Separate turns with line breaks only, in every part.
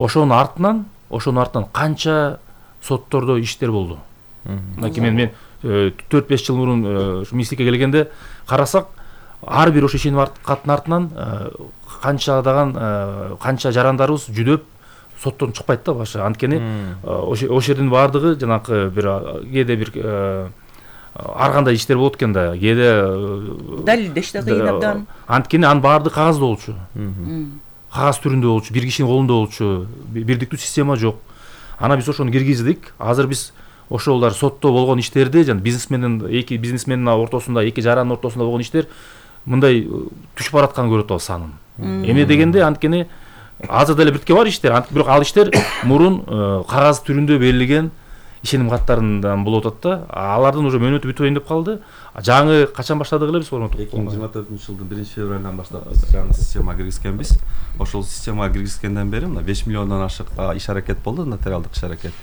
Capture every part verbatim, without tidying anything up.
ошонун артынан ошонун артынан канча соттордо иштер болду. Мынакей мен мен төрт беш жыл мурун министрликке келгенде карасак, ар бир ошо ишеним каттын артынан канчадаган канча жарандарыбыз жүдөп соттон чыкпайт да башы. Анткени ошол жердин баардыгы жанакы бир кээде бир ар кандай иштер болот экен да, кээде
далилдеш да кыйын абдан.
Анткени анын баардыгы кагазда болчу. Кагаз түрүндө болчу, бир кишинин колунда болчу, бирдиктүү система жок. Ана биз ошону киргиздик. Азыр биз ошолор сотто болгон иштерди, жана бизнесмендин эки бизнесмендин ортосунда, эки жарандын ортосунда болгон иштер мындай түшүп баратканын көрүп атабыз санын. Эмне дегенде, анткени азыр деле биртке бар иштер, бирок ал иштер мурун кагаз түрүндө берилген ишеним каттарынан болуп атат да. Алардын уже мөөнөтү бүтөйүн деп калды. Жаңы качан баштадык эле биз ошону?
эки миң жыйырма төртүнчү жылдын биринчи февралынан баштап жаңы системага киргизгенбиз. Ошол системага киргизгенден бери мына беш миллиондон ашык иш аракет болду, нотариалдык иш аракет.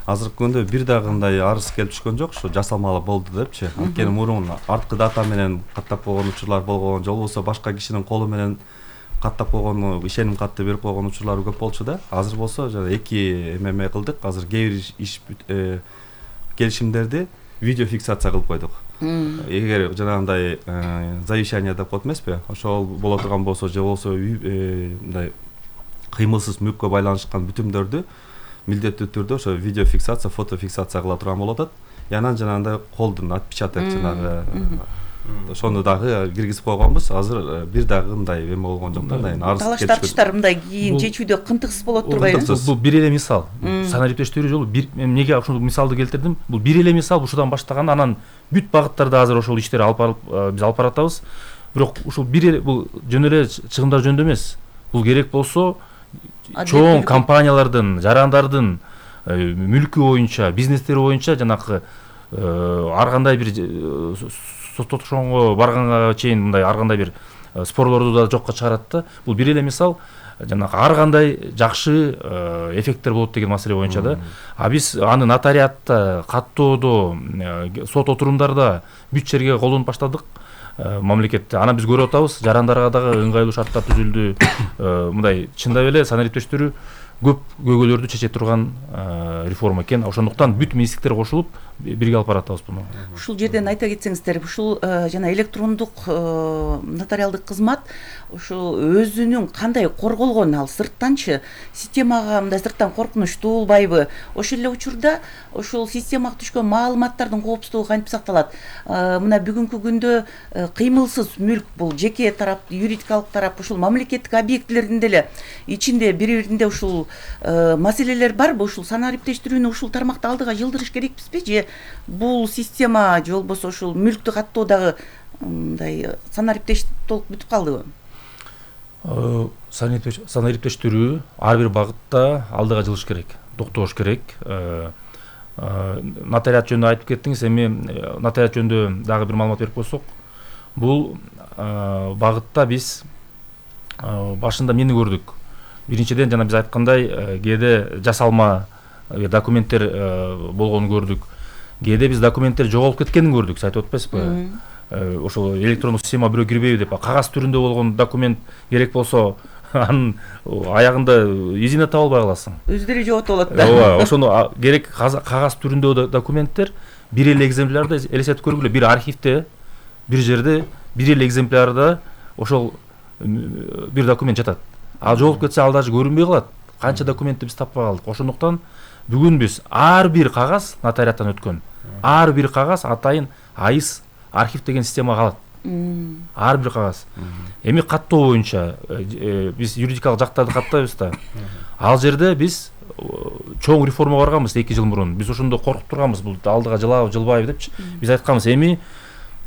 Азыркы күндө бир дагы мындай арыз келип түшкөн жок, ушу жасалмалуу болду депчи. Анткени мурун арткы дата менен каттап койгон учурлар болгон, же болбосо башка кишинин колу менен каттап койгон ишеним катты берип койгон учурлар көп болчу да. Азыр болсо жана эки эмеме кылдык. Азыр кээ бир иш келишимдерди видео фиксация кылып койдук. Эгер жанагындай завещание деп коет эмеспи? Ошол боло турган болсо, же болсо мындай кыймылсыз мүлккө байланышкан бүтүмдөрдү милдеттүү түрдө ошо видео фиксация, фото фиксация кыла турган болуп атат. Янан жанагындай колдун отпечаток жанагы ошону дагы киргизип койгонбуз. Азыр бир дагы мындай эме болгон жок да, мындай арыз
талаш тартыштар мындай кийин чечүүдө кынтыксыз болот турбайбы?
Бул бир эле мисал. Санариптештирүү жолу бир, эмнеге ушул мисалды келтирдим? Бул бир эле мисал, ушудан баштаган, анан бүт багыттарда азыр ошол иштер алып барып биз алып баратабыз. Бирок ушул бир эле бул жөн эле чыгымдар жөнүндө эмес. Бул керек болсо чоң компаниялардын, жарандардын мүлкү боюнча, бизнестери боюнча жанакы ар кандай бир соттошонго барганга чейин мындай ар кандай бир спорлорду да жокко чыгарат да. Бул бир эле мисал, жанакы ар кандай жакшы эффекттер болот деген маселе боюнча да. А биз аны нотариатта, каттоодо, сот отурумдарда бүт жерге колдонуп баштадык мамлекетте. Аны биз көрүп атабыз, жарандарга дагы ыңгайлуу шарттар түзүлдү. Мындай чындап эле санариптештирүү көп көйгөйлөрдү чече турган реформа экен. Ошондуктан бүт министрликтер кошулуп бирге алып баратабыз буну.
Ушул жерден айта кетсеңиздер, ушул жана электрондук нотариалдык кызмат ушул өзүнүн кандай корголгон, ал сырттанчы системага мындай сырттан коркунуч туулбайбы? Ошол эле учурда ушул системага түшкөн маалыматтардын коопсуздугу кантип сакталат? Мына бүгүнкү күндө кыймылсыз мүлк, бул жеке тарап, юридикалык тарап, ушул мамлекеттик объектилердин деле ичинде бири-биринде ушул маселелер барбы? Ушул санариптештирүүнү ушул тармакта алдыга жылдырыш керекпизби, же бул система же болбосо ушул мүлктү каттоодагы мындай санариптеш толук бүтүп калдыбы?
Санариптештирүү ар бир багытта алдыга жылыш керек, токтош керек. Нотариат жөнүндө айтып кеттиңиз, эми нотариат жөнүндө дагы бир маалымат берип койсок, бул багытта биз башында эмнени көрдүк? Биринчиден жана биз айткандай, кээде жасалма документтер болгонун көрдүк. Кээде биз документтер жоголуп кеткенин көрдүк, сиз айтып атпайсызбы? Ошол электрондук система бирөө кирбейби деп, кагаз түрүндө болгон документ керек болсо, анын аягында изине таба албай каласың.
Өздөрү жоготуп алат да.
Ооба, ошону керек кагаз түрүндө документтер бир эле экземплярда элестетип көргүлө, бир архивде, бир жерде бир эле экземплярда ошол бир документ жатат. Ал жоголуп кетсе, ал даже көрүнбөй калат. Канча документти биз таппай калдык. Ошондуктан бүгүн биз ар бир кагаз нотариаттан өткөн, ар бир кагаз атайын айыс архив деген система калат. Ар бир кагаз. Эми каттоо боюнча биз юридикалык жактарды каттайбыз да. Ал жерде биз чоң реформа барганбыз эки жыл мурун. Биз ошондо коркуп турганбыз, бул алдыга жылабы, жылбайбы депчи. Биз айтканбыз, эми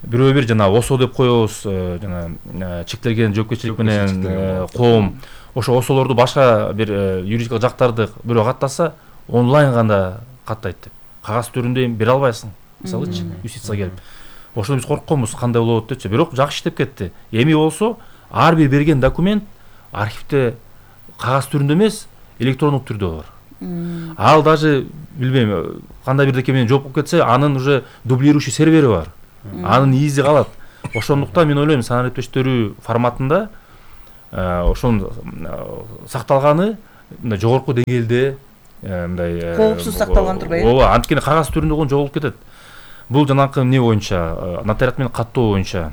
бирөө бир жана ОСО деп коебуз, жана чектелген жоопкерчилик менен коом. Ошо ОСОлорду башка бир юридикалык жактарды бирөө каттаса, онлайн гана каттайт деп. Кагаз түрүндө бере албайсың. Мисалычы, юстиция келип. Ошондо биз коркконбуз, кандай болот депчи. Бирок жакшы иштеп кетти. Эми болсо ар бир берген документ архивде кагаз түрүндө эмес, электрондук түрдө бар. Ал даже билбейм, кандай бирдеке менен жооп болуп кетсе, анын уже дублирующий сервери бар. Анын изи калат. Ошондуктан мен ойлойм, санариптештирүү форматында ошонун сакталганы мындай жогорку деңгээлде мындай
коопсуз сакталган турбайбы?
ооба, анткени кагаз түрүндө болгон жоголуп кетет. Бул жанакы эмне боюнча, нотариат менен каттоо боюнча.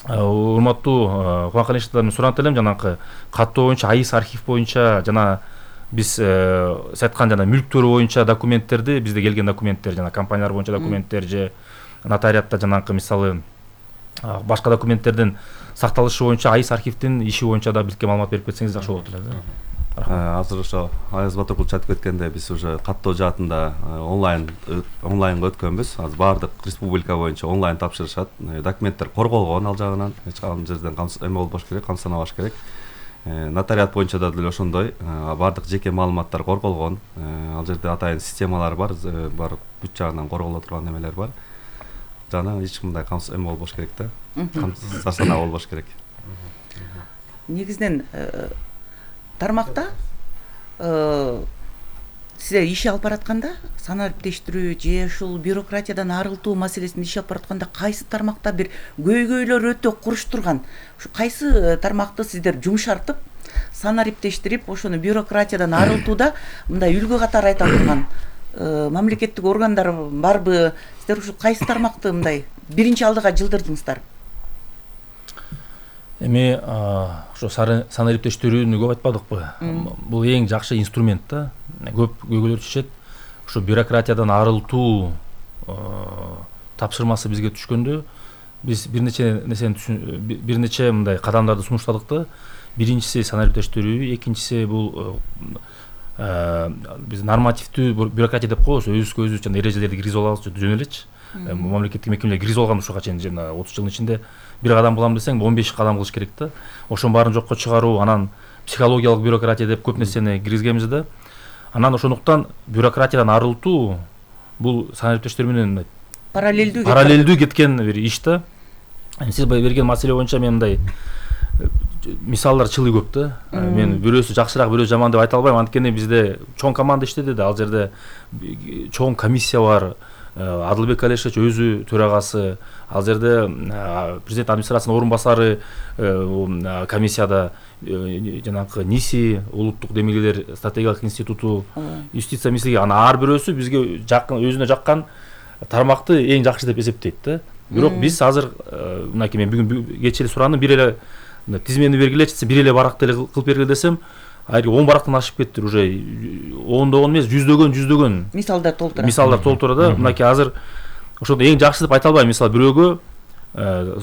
Урматтуу Кубанкалиевичтардан сурантып элем, жанакы каттоо боюнча АИС архив боюнча жана биз сиз айткан жана мүлктөр боюнча документтерди, бизде келген документтер жана компаниялар боюнча документтер же нотариатта жанакы мисалы башка документтердин сакталышы боюнча АИС архивдин иши боюнча да бизге маалымат берип кетсеңиз жакшы болот эле.
Азыр ошо Аяз Батыркулович айтып кеткендей, биз уже каттоо жаатында онлайн онлайнга өткөнбүз. Азыр баардык республика боюнча онлайн тапшырышат. Документтер корголгон ал жагынан, эч кандай жерден эме болбош керек, камсызданбаш керек. Нотариат боюнча да деле ошондой, баардык жеке маалыматтар корголгон. Ал жерде атайын системалар бар, бар бүт жагынан корголо турган немелер бар. Жана эч кандай камсыз эме болбош керек да. Камсыздана болбош керек.
Негизинен тармакта сиздер иш алып баратканда, санариптештирүү же ушул бюрократиядан арылтуу маселесин иш алып баратканда кайсы тармакта бир көйгөйлөр өтө куруш турган, ушу кайсы тармакты сиздер жумшартып, санариптештирип, ошону бюрократиядан арылтууда мындай үлгү катары айта турган мамлекеттик органдар барбы? Сиздер ушул кайсы тармакты мындай биринчи алдыга жылдырдыңыздар?
Эми ошо санариптештирүүнү көп айтпадыкпы? Бул эң жакшы инструмент да. Көп көйгөйлөр түшөт. Ошо бюрократиядан арылтуу тапшырмасы бизге түшкөндө биз бир нече нерсени бир нече мындай кадамдарды сунуштадык да. Биринчиси санариптештирүү, экинчиси бул биз нормативдүү бюрократия деп коебуз, өзүбүзгө өзүбүз жана эрежелерди киргизип алабыз жөн элечи. Мамлекеттик мекемелер киргизип алган ушуга чейин жана отуз жылдын ичинде бир кадам кылам десең он беш кадам кылыш керек да. Ошонун баарын жокко чыгаруу, анан психологиялык бюрократия деп көп нерсени киргизгенбиз да. Анан ошондуктан бюрократиядан арылтуу бул санариптештер менен
параллелдүү
параллелдүү кеткен бир иш да. Сиз берген маселе боюнча мен мындай мисалдар чылый көп да. Мен бирөөсү жакшыраак, бирөөсү жаман деп айта албайм, анткени бизде чоң команда иштеди да. Ал жерде чоң комиссия бар. Адылбек Алишевич өзү төрагасы, ал жерде президент администрациясынын орун басары комиссияда, жанагы НИСИ, улуттук демилгелер стратегиялык институту, юстиция министрлиги, анан ар бирөөсү бизге жакын, өзүнө жаккан тармакты эң жакшы деп эсептейт да. Бирок биз азыр мынакей мен бүгүн кечээ эле сурандым, бир эле тизмени бергилечи, бир эле баракты эле кылып бергиле десем, айры он барактан ашып кеттир, уже ондогон эмес, жүздөгөн жүздөгөн
мисалдар толтура.
Мисалдар толтура да. Мынакей азыр ошондо эң жакшы деп айта албайм. Мисалы бирөөгө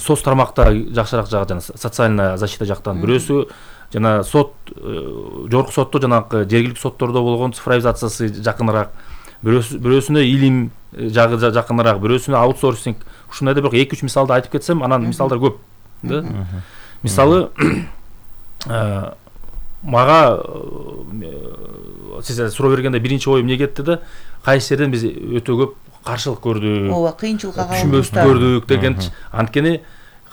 соц тармакта жакшыраак жагы жана социальная защита жактан, бирөөсү жана сот, жогорку сотто жанагы жергиликтүү соттордо болгон цифровизациясы жакыныраак, бирөөсүнө илим жагы жакыныраак, бирөөсүнө аутсорсинг. Ушундай да бирок эки үч мисалды айтып кетсем, анан мисалдар көп да. Мисалы мага сиз суроо бергенде биринчи оюм эмне кетти да, кайсы жерден биз өтө көп каршылык көрдүк,
ооба, кыйынчылыкка калдык,
түшүнбөстүк көрдүк деген. Анткени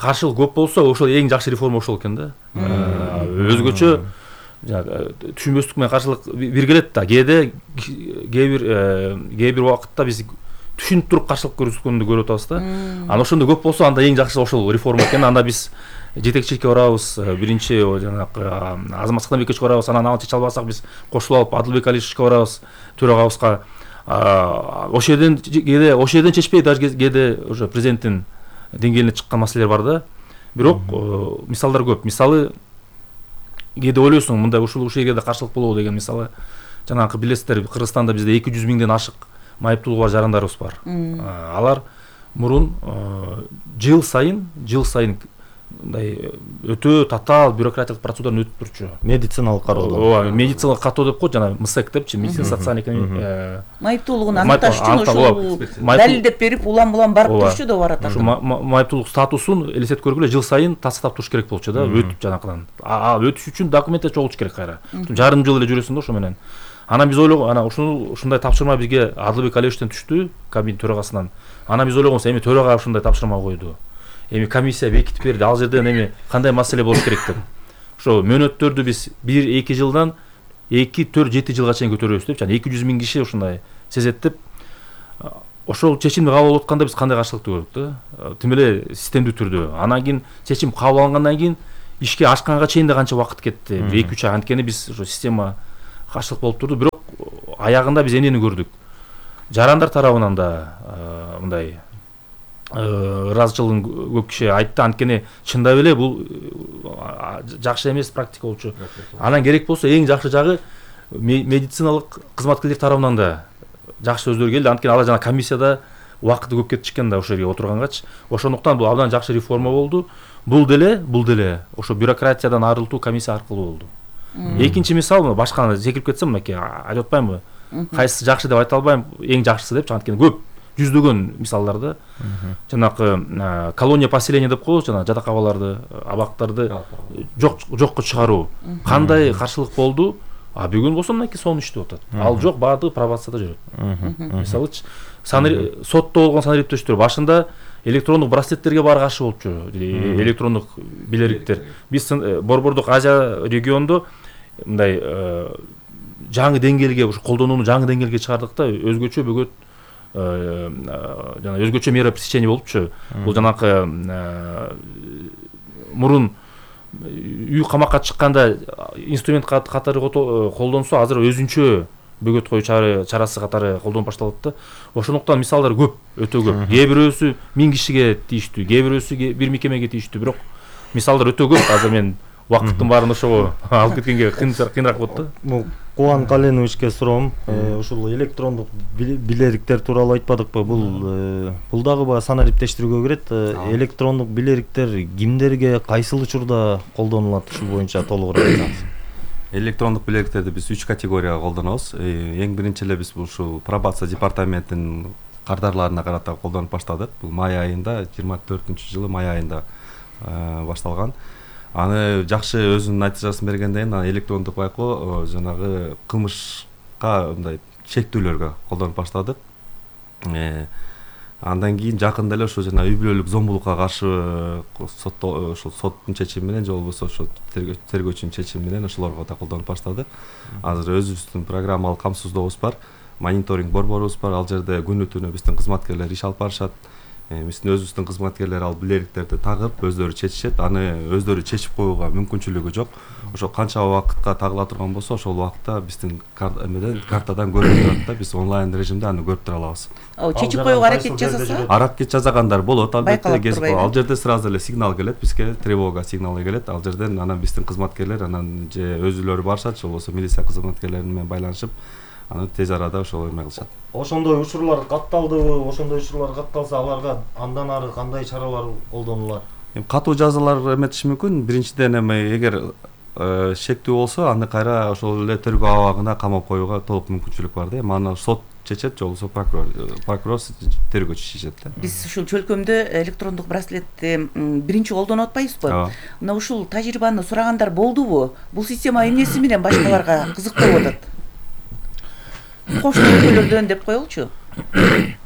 каршылык көп болсо ошол эң жакшы реформа ошол экен да. Өзгөчө түшүнбөстүк менен каршылык бир келет да. Кээде кээ бир кээ бир убакытта биз түшүнүп туруп каршылык көрсөткөндү көрүп атабыз да. Анан ошондо көп болсо анда эң жакшы ошол реформа экен. Анда биз жетекчиликке барабыз, биринчи жанагы Азамат Сактанбековичке барабыз, анан аны чече албасак биз кошулуп алып Адылбек Алишевичке барабыз, төрагабызга. Ошол жерден кээде ошол жерден чечпей, даже кээде уже президенттин деңгээлине чыккан маселелер бар да. Бирок мисалдар көп. Мисалы кээде ойлойсуң, мындай ушул ушул жерде каршылык болобу деген. Мисалы жанагы билесиздер, Кыргызстанда бизде эки жүз миңден ашык майыптуулугу бар жарандарыбыз бар. Алар мурун жыл сайын, жыл сайын мындай өтө татаал бюрократиялык процедурадан өтүп турчу.
Медициналык кароодон.
Ооба, медициналык каттоо деп коет, жана МСЭК депчи, медицина социальный
майыптуулугун аныкташ үчүн ошол далилдеп берип, улам-улам барып турчу да барат.
Ошо майыптуулук статусун элестетип көргүлө, жыл сайын тастап туруш керек болчу да, өтүп жанакыдан. А өтүш үчүн документтер чогултуш керек кайра. Жарым жыл эле жүрөсүң да ошо менен. Анан биз ойлогон, анан ушул ушундай тапшырма бизге Адылбек Алишевичтен түштү, кабинет төрагасынан. Анан биз ойлогонбуз, эми төрага ушундай тапшырма койду. Эми комиссия бекитип берди, ал жерден эми кандай маселе болуш керек деп. Ошо мөөнөттөрдү биз бир эки жылдан эки төрт жети жылга чейин көтөрөбүз деп, жана эки жүз миң киши ушундай сезет деп. Ошол чечимди кабыл алып атканда биз кандай каршылыкты көрдүк да. Тим эле системдүү түрдө. Анан кийин чечим кабыл алынгандан кийин ишке ашканга чейин да канча убакыт кетти. эки үч ай. Анткени биз ошо система каршылык болуп турду, бирок аягында биз эмнени көрдүк? Жарандар тарабынан да мындай ыраазычылыгын көп киши айтты, анткени чындап эле бул жакшы эмес практика болчу. Анан керек болсо эң жакшы жагы медициналык кызматкерлер тарабынан да жакшы сөздөр келди, анткени алар жана комиссияда убакыты көп кетип чыккан да ошол жерге отургангачы. Ошондуктан бул абдан жакшы реформа болду. Бул деле, бул деле ошо бюрократиядан арылтуу комиссия аркылуу болду. Экинчи мисал, башканы секирип кетсем, мынакей айтып атпаймынбы? Кайсысы жакшы деп айта албайм, эң жакшысы депчи, анткени көп жүздөгөн мисалдарды. Жанакы колония поселения деп коебуз, жана жатакабаларды, абактарды жок жокко чыгаруу. Кандай каршылык болду? А бүгүн болсо мынакей сонун иштеп атат. Ал жок, баардыгы пробацияда жүрөт. Мисалычы, сотто болгон санариптештер башында электрондук браслеттерге баары каршы болчу, электрондук билериктер. Биз Борбордук Азия региондо мындай жаңы деңгээлге, ушу колдонууну жаңы деңгээлге чыгардык да, өзгөчө бөгөт жана өзгөчө мера пресечения болупчу. Бул жанакы мурун үй камакка чыкканда инструмент катары колдонсо, азыр өзүнчө бөгөт коюу чарасы катары колдонуп башталат да. Ошондуктан мисалдар көп, өтө көп. Кээ бирөөсү миң кишиге тийиштүү, кээ бирөөсү бир мекемеге тийиштүү, бирок мисалдар өтө көп. Азыр мен убакыттын баарын ошого алып кеткенге кыйыныраак болот да.
Бул Кубан Каленовичке суроом, ушул электрондук билериктер тууралуу айтпадыкпы? Бул бул дагы баягы санариптештирүүгө кирет. Электрондук билериктер кимдерге, кайсыл учурда колдонулат? Ушул боюнча толугураак айтсаңыз.
Электрондук билериктерди биз үч категорияга колдонобуз. Эң биринчи эле биз ушул пробация департаментинин кардарларына карата колдонуп баштадык. Бул май айында, жыйырма төртүнчү жылы май айында башталган. Аны жакшы өзүнүн натыйжасын бергенден кийин электрондук байкоо жанагы кылмышка мындай чектөөлөргө колдонуп баштадык. Андан кийин жакында эле ошо жана үй бүлөлүк зомбулукка каршы сотто ошол соттун чечими менен же болбосо ошо тергөөчүнүн чечими менен ошолорго да колдонуп баштадык. Азыр өзүбүздүн программалык камсыздообуз бар, мониторинг борборубуз бар. Ал жерде күнү түнү биздин кызматкерлер иш алып барышат. Биздин өзүбүздүн кызматкерлер ал билериктерди тагып өздөрү чечишет. Аны өздөрү чечип коюуга мүмкүнчүлүгү жок. Ошо канча убакытка тагыла турган болсо, ошол убакытта биздин картадан көрүнүп турат да, биз онлайн режимде аны көрүп тура алабыз.
Чечип коюуга аракет жасаса?
Аракет жасагандар болот, албетте. Ал жерде сразу эле сигнал келет, бизге тревога сигналы келет. Ал жерден анан биздин кызматкерлер анан же өзүлөрү барышат, же болбосо милиция кызматкерлери менен байланышып, аны тез арада ошол эме кылышат.
Ошондой учурлар катталдыбы? Ошондой учурлар катталса, аларга андан ары кандай чаралар колдонулат?
Катуу жазалар эметиш мүмкүн. Биринчиден эме эгер шектүү болсо, аны кайра ошол эле тергөө абагына камап коюуга толук мүмкүнчүлүк бар да. Мана сот чечет, же болбосо прокурор, прокурор тергөөчү чечет да.
Биз ушул чөлкөмдө электрондук браслетти биринчи колдонуп атпайбызбы? Мына ушул тажрыйбаны сурагандар болдубу? Бул система эмнеси менен башкаларга кызык болуп атат? Кош өлкөлөрдөн деп коелучу.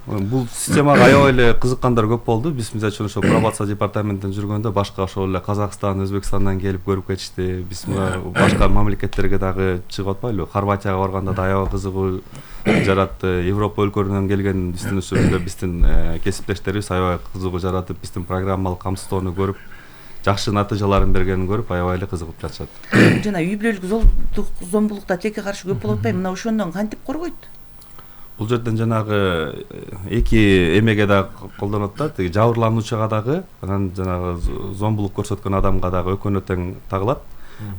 Бул системага аябай эле кызыккандар көп болду. Биз мисалы үчүн ошо пробация департаментинде жүргөндө башка ошол эле Казакстан, Өзбекстандан келип көрүп кетишти. Биз башка мамлекеттерге дагы чыгып атпайлыбы? Хорватияга барганда да аябай кызыгуу жаратты. Европа өлкөлөрүнөн келген биздин ушул биздин кесиптештерибиз аябай кызыгуу жаратып, биздин программалык камсыздоону көрүп, жакшы натыйжаларын бергенин көрүп аябай эле кызыгып жатышат.
Жана үй бүлөлүк зомбулукта тилекке каршы көп болуп атпайбы? Мына ошондон кантип коргойт?
Бул жерден жанагы эки эмеге да колдонот да, тиги жабырлануучуга дагы, анан жанагы зомбулук көрсөткөн адамга дагы экөөнө тең тагылат.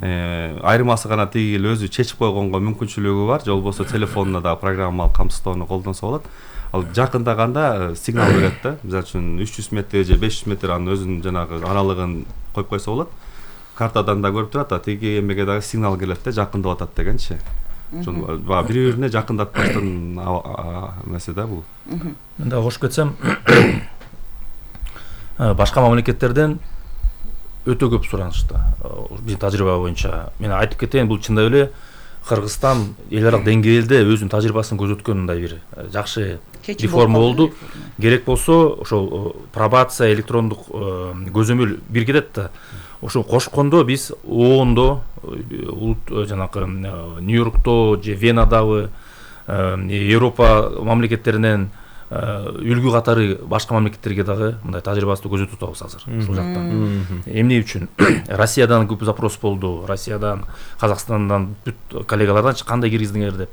Айырмасы гана тиги өзү чечип койгонго мүмкүнчүлүгү бар, же болбосо телефонуна да программалык камсыздоону колдонсо болот. Ал жакындаганда сигнал берет да. Мисалы үчүн үч жүз метр же беш жүз метр анын өзүнүн жанагы аралыгын коюп койсо болот. Картадан да көрүп турат, а тиги эмеге дагы сигнал келет да, жакындап атат дегенчи. Ошон баягы бири-бирине жакындатпаштан эмеси да бул.
Мен да кош кетсем, башка мамлекеттерден өтө көп суранышты. Биздин тажрыйба боюнча мен айтып кетейин, бул чындап эле Кыргызстан эл аралык деңгээлде өзүнүн тажрыйбасын көрсөткөн мындай бир жакшы реформа болду. Керек болсо ошол пробация, электрондук көзөмөл бир кетет да. Ошо кошкондо биз оондо, жанакы Нью-Йоркто же Венадабы, Европа мамлекеттеринен үлгү катары башка мамлекеттерге дагы мындай тажрыйбасты көзөтүп атабыз азыр ушул жактан. Эмне үчүн Россиядан көп запрос болду, Россиядан, Казакстандан, бүт коллегалардан кандай киргиздиңер деп.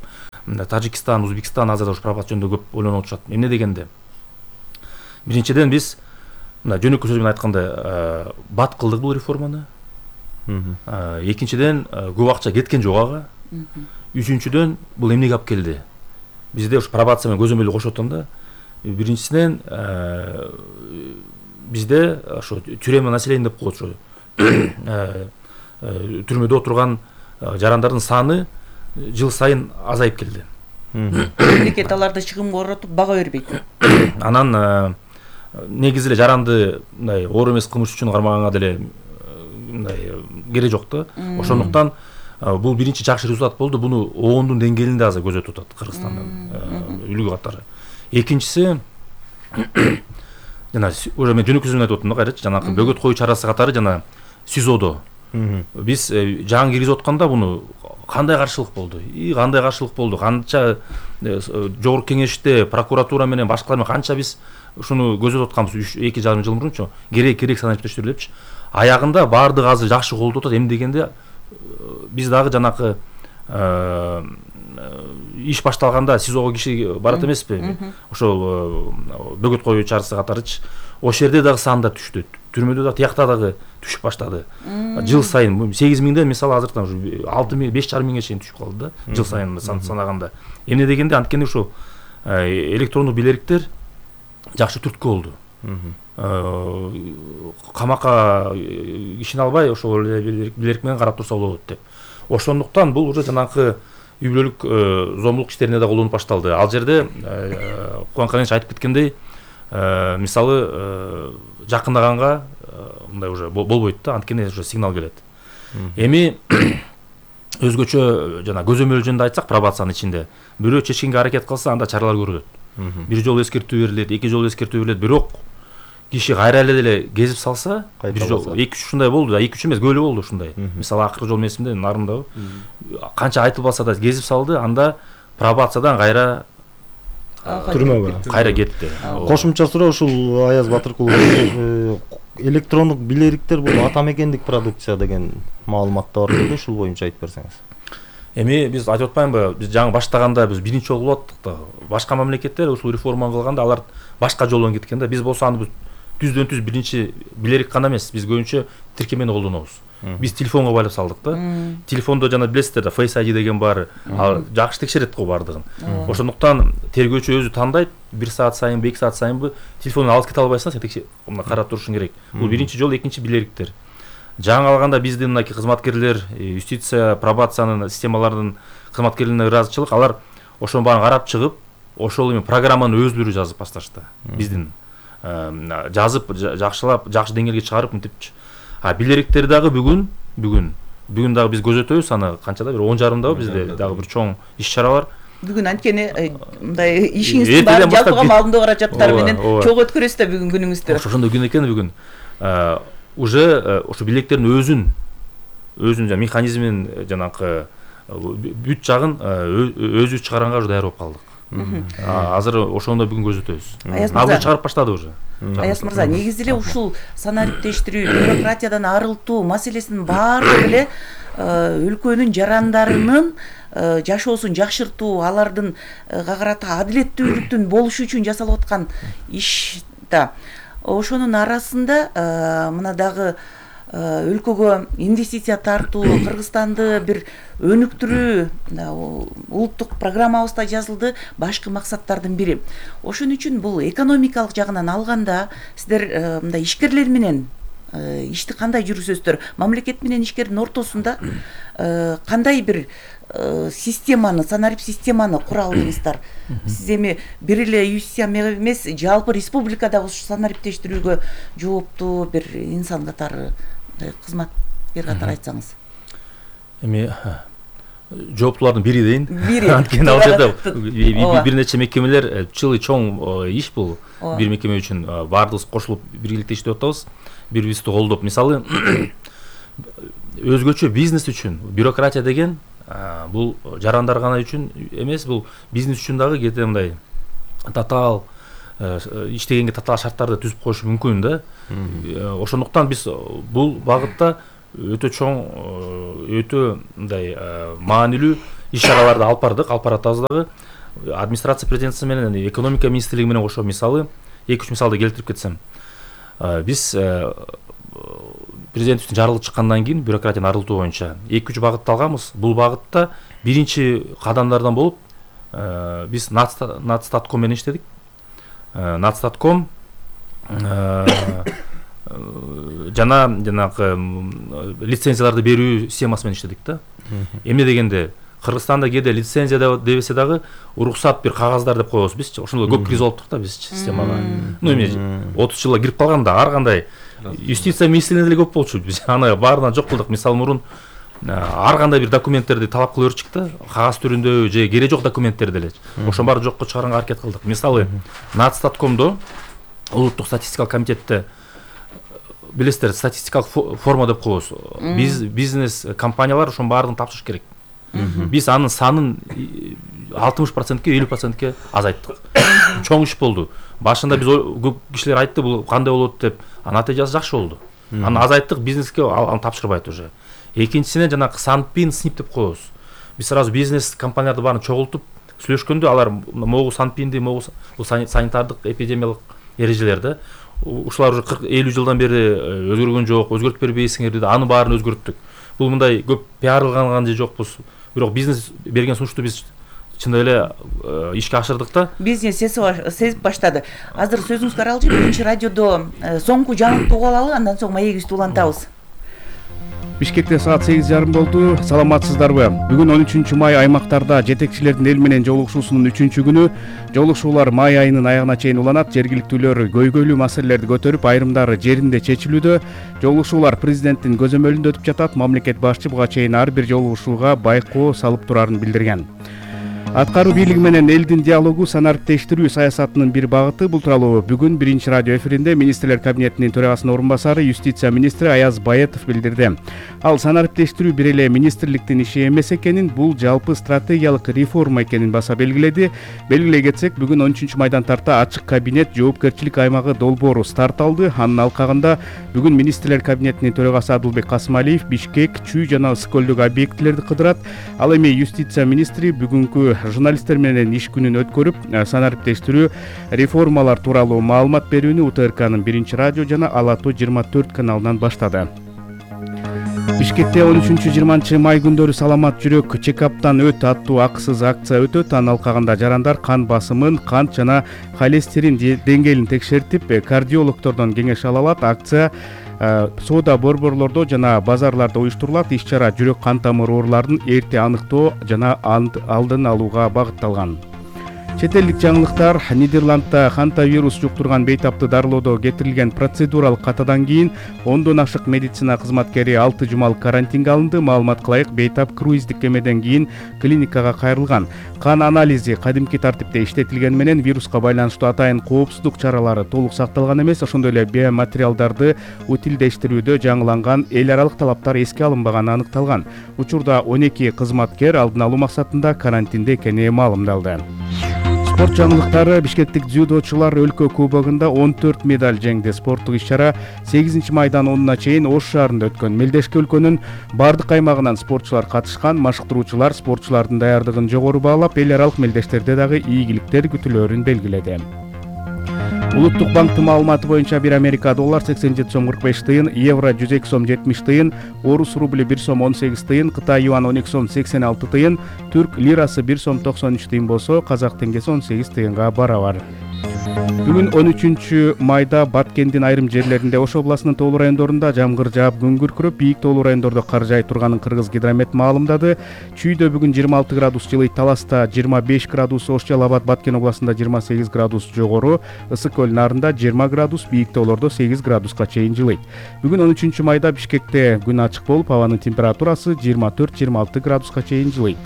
Мындай Тажикстан, Өзбекстан азыр ушу пропаганда жөнүндө көп ойлонуп отушат. Эмне дегенде биринчиден биз мына жөнөкөй сөз менен айтканда бат кылдык бул реформаны. Экинчиден көп акча кеткен жок ага. Үчүнчүдөн бул эмнеге алып келди? Бизде ушу пробация менен көзөмөлдү кошуп атканда биринчисинен бизде ошо тюрема население деп коет, ошо түрмөдө отурган жарандардын саны жыл сайын азайып келди.
Мемлекет аларды чыгымга оротуп бага бербейт.
Анан негизи эле жаранды мындай оор эмес кылмыш үчүн кармаганга деле мындай кереги жок да. Ошондуктан бул биринчи жакшы результат болду. Буну оондун деңгээлинде азыр көзөтүп атат Кыргызстандын үлгү катары. Экинчиси жана уже мен жөнөкөй сөз менен айтып атам да кайрачы, жанагы бөгөт коюу чарасы катары жана СИЗОдо биз жаңы киргизип атканда буну кандай каршылык болду? И кандай каршылык болду? Канча жогорку кеңеште прокуратура менен башкалар менен канча биз ушуну көзөтүп атканбыз эки жарым жыл мурунчу. Керек керек санариптештер депчи. Аягында баардыгы азыр жакшы колдоп атат. Эмне дегенде биз дагы жанакы иш башталганда СИЗОго киши барат эмеспи? Ошол бөгөт коюу чарасы катарычы. Ошол жерде дагы санда түштү. Түрмөдө дагы тиякта дагы түшүп баштады. Жыл сайын сегиз миңден мисалы азыртан ушу алты миң, беш жарым миңге чейин түшүп калды да. Жыл сайын санаганда. Эмне дегенде анткени ушу электрондук билердиктер жакшы түрткү болду. Камакка кишини албай ошол билердик менен карап турса болот деп. Ошондуктан бул уже жанакы үй бүлөлүк зомбулук иштерине да колдонуп башталды. Ал жерде Кубан Караевич айтып кеткендей, мисалы жакындаганга мындай уже болбойт да, анткени уже сигнал келет. Эми өзгөчө жана көзөмөл жөнүндө айтсак, пробациянын ичинде бирөө чечкенге аракет кылса, анда чаралар көрүлөт. Бир жолу эскертүү берилет, эки жолу эскертүү берилет, бирок киши кайра эле деле кезип салса, бир жол эки үч ушундай болду да, эки үч эмес көөлө болду ушундай. Мисалы акыркы жол месимде нарындабы канча айтылбаса да кезип салды, анда пробациядан кайра
түрмөгө
кайра кетти.
Кошумча суроо ушул Аяз Батыркулов, электрондук билердиктер бул ата мекендик продукция деген маалымат бар эле, ушул боюнча айтып берсеңиз.
Эми биз айтып атпаймынбы, биз жаңы баштаганда биз биринчи жолу кылып аттык да. Башка мамлекеттер ушул реформаны кылганда алар башка жолдон кеткен да. Биз болсо аны түздөн түз биринчи билерик гана эмес, биз көбүнчө тиркемени колдонобуз. Биз телефонго байлап салдык да. Телефондо жана билесиздер да, Face ай ди деген бар, ал жакшы текшерет го бардыгын. Ошондуктан тергөөчү өзү тандайт, бир саат сайынбы, эки саат сайынбы телефонун алып кете албайсың, сен текшер, мына карап турушуң керек. Бул биринчи жол, экинчи билердиктер. Жаңы алганда биздин мынакей кызматкерлер, юстиция, пробациянын системаларынын кызматкерлерине ыраазычылык, алар ошонун баарын карап чыгып, ошол эми программанын өздөрү жазып башташты. Биздин жазып, жакшылап, жакшы деңгээлге чыгарып мынтипчи. А билердиктер дагы бүгүн, бүгүн, бүгүн дагы биз көзөтөбүз, аны канчада бир он жарымдабы бизде дагы бир чоң иш-чаралар.
Бүгүн анткени мындай ишиңиздин баары жалпыга маалымдоо каражаттары менен чогуу өткөрөсүз да бүгүн күнүңүздү.
Ошондой күн экен бүгүн. Уже ошо билердиктердин өзүн, өзүнүн жана механизмин жанакы бүт жагын өзү чыгарганга уже даяр болуп калдык. Азыр ошондо бүгүн көзөтөбүз. Азыр чыгарып баштады уже.
Аяз мырза, негизи эле ушул санариптештирүү, бюрократиядан арылтуу маселесинин баардыгы эле өлкөнүн жарандарынын жашоосун жакшыртуу, алардын карата адилеттүүлүктүн болушу үчүн жасалып аткан иш да. Ошонун арасында мына дагы өлкөгө инвестиция тартуу, Кыргызстанды бир өнүктүрүү улуттук программабызда жазылды, башкы максаттардын бири. Ошон үчүн бул экономикалык жагынан алганда сиздер мындай ишкерлер менен ишти кандай жүргүзөсүздөр? Мамлекет менен ишкердин ортосунда кандай бир системаны, санарип системаны кура алдыңыздар? Сиз эми бир эле юстиция эмес, жалпы республикадагы ушу санариптештирүүгө жооптуу бир инсан катары, кызматкер катары айтсаңыз.
Эми жооптуулардын бири дейин.
Бири.
Анткени ал жерде бир нече мекемелер, чылый чоң иш бул. Бир мекеме үчүн баардыгыбыз кошулуп биргеликте иштеп атабыз. Бири-бирибизди колдоп, мисалы өзгөчө бизнес үчүн бюрократия деген бул жарандар гана үчүн эмес, бул бизнес үчүн дагы кете мындай татаал иштегенге татаал шарттарды түзүп коюшу мүмкүн да. Ошондуктан биз бул багытта өтө чоң, өтө мындай маанилүү иш чараларды алып бардык, алып баратабыз дагы. Администрация президентиси менен, экономика министрлиги менен кошо мисалы эки үч мисалды келтирип кетсем, биз президентибиздин жарлыгы чыккандан кийин бюрократияны арылтуу боюнча эки үч багытты алганбыз. Бул багытта биринчи кадамдардан болуп биз Надстатком менен иштедик. Надстатком жана жанагы лицензияларды берүү системасы менен иштедик да. Эмне дегенде Кыргызстанда кээде лицензия дебесе дагы уруксат бир кагаздар деп коебуз биз. Ошондо көп киргиз болуптук да биз системага. Ну эми отуз жылга кирип калганда ар кандай юстиция министрлигинде деле көп болчу. Биз аны баарынан жок кылдык. Мисалы мурун ар кандай бир документтерди талап кыла берчүк да, кагаз түрүндө же кереги жок документтерди деле. Ошонун баарын жокко чыгарганга аракет кылдык. Мисалы Надстаткомдо улуттук статистикалык комитетте билесиздер, статистикалык форма деп коебуз. Биз бизнес компаниялар ошонун баарын тапшырыш керек. Биз анын санын алтымыш процентке, элүү процентке азайттык. Чоң иш болду. Башында биз көп кишилер айтты, бул кандай болот деп, натыйжасы жакшы болду. Аны азайттык, бизнеске аны тапшырбайт уже. Экинчисинен жанагы санпин снип деп коебуз. Биз сразу бизнес компанияларды баарын чогултуп сүйлөшкөндө алар могу санпинди, могу бул санитардык, эпидемиялык эрежелер да. Ушулар уже кырк элүү жылдан бери өзгөргөн жок, өзгөртүп бербейсиңер деди. Аны баарын өзгөрттүк. Бул мындай көп пиарланган же жокпуз. Бирок бизнес берген сунушту биз чындап эле ишке ашырдык да. Бизнес
сезип баштады. Азыр сөзүңүзгө аралжы биринчи радиодо соңку жаңылыкты угуп алалы, андан соң маегибизди улантабыз.
Бишкекте саат сегиз жарым болду. Саламатсыздарбы? Бүгүн он үчүнчү май аймактарда жетекчилердин эл менен жолугушуусунун үчүнчү күнү. Жолугушуулар май айынын аягына чейин уланат. Жергиликтүүлөр көйгөйлүү маселелерди көтөрүп, айрымдары жеринде чечилүүдө. Жолугушуулар президенттин көзөмөлүндө өтүп жатат. Мамлекет башчы буга чейин ар бир жолугушууга байкоо салып турарын билдирген. Аткаруу бийлиги менен элдин диалогу санариптештирүү саясатынын бир багыты. Бул тууралуу бүгүн биринчи радио эфиринде министрлер кабинетинин төрагасынын орун басары, юстиция министри Аяз Баетов билдирди. Ал санариптештирүү бир эле министрликтин иши эмес экенин, бул жалпы стратегиялык реформа экенин баса белгиледи. Белгилей кетсек, бүгүн он үчүнчү майдан тарта ачык кабинет жоопкерчилик аймагы долбоору старт алды. Анын алкагында бүгүн министрлер кабинетинин төрагасы Адылбек Касымалиев Бишкек, Чүй жана Ысык көлдөгү объектилерди кыдырат. Ал эми юстиция министри бүгүнкү журналисттер менен иш күнүн өткөрүп, санариптештирүү реформалар тууралуу маалымат берүүнү У Т Р К'нын биринчи радио жана Ала-Тоо жыйырма төрт каналынан баштады. Бишкекте он үчүнчү жыйырманчы май күндөрү саламат жүрөк чекаптан өт аттуу акысыз акция өтөт. Анын алкагында жарандар кан басымын, кант жана холестерин деңгээлин текшертип, кардиологдордон кеңеш ала алат. Акция соода борборлордо жана базарларда уюштурулат. Иш-чара жүрөк кан тамыр ооруларын эрте аныктоо жана алдын алууга багытталган. Чет элдик жаңылыктар. Нидерландда хантавирус жуктурган бейтапты дарылоодо кетирилген процедуралык катадан кийин ондон ашык медицина кызматкери алты жумалык карантинге алынды. Маалыматка ылайык, бейтап круиздик кемеден кийин клиникага кайрылган. Кан анализи кадимки тартипте иштетилгени менен вируска байланыштуу атайын коопсуздук чаралары толук сакталган эмес. Ошондой эле биоматериалдарды утилдештирүүдө жаңыланган эл аралык талаптар эске алынбаганы аныкталган. Учурда он эки кызматкер алдын алуу максатында карантинде экени маалымдалды. Спорт жаңылыктары. Бишкектик дзюдочулар өлкө кубогунда он төрт медаль жеңди. Спорттук иш-чара сегизинчи майдан онуна чейин Ош шаарында өткөн. Мелдешки өлкөнүн бардык аймагынан спортчулар катышкан. Машыктыруучулар спортчулардын даярдыгын жогору баалап, эл аралык мелдештерде дагы ийгиликтер күтүлөрүн белгиледи. Улуттук банктын маалыматы боюнча бир Америка доллар сексен жети сом кырк беш тыйын, евро жүз эки сом жетимиш тыйын, орус рубли бир сом он сегиз тыйын, Кытай юан он эки сом сексен алты тыйын, түрк лирасы бир сом токсон үч тыйын болсо, казак теңгеси он сегиз тыйынга барабар. Бүгүн он үчүнчү майда Баткендин айрым жерлеринде, Ош областынын тоолуу райондорунда жамгыр жаап, күн күркүрөп, бийик тоолуу райондордо кар жай турганын Кыргыз гидромет маалымдады. Чүйдө бүгүн жыйырма алты градус жылыйт, Таласта жыйырма беш градус, Ош Жалал Абад Баткен областында жыйырма сегиз градус жогору, Ысык көл нарында жыйырма градус, бийик тоолордо сегиз градуска чейин жылыйт. Бүгүн он үчүнчү майда Бишкекте күн ачык болуп, абанын температурасы жыйырма төрт жыйырма алты градуска чейин жылыйт.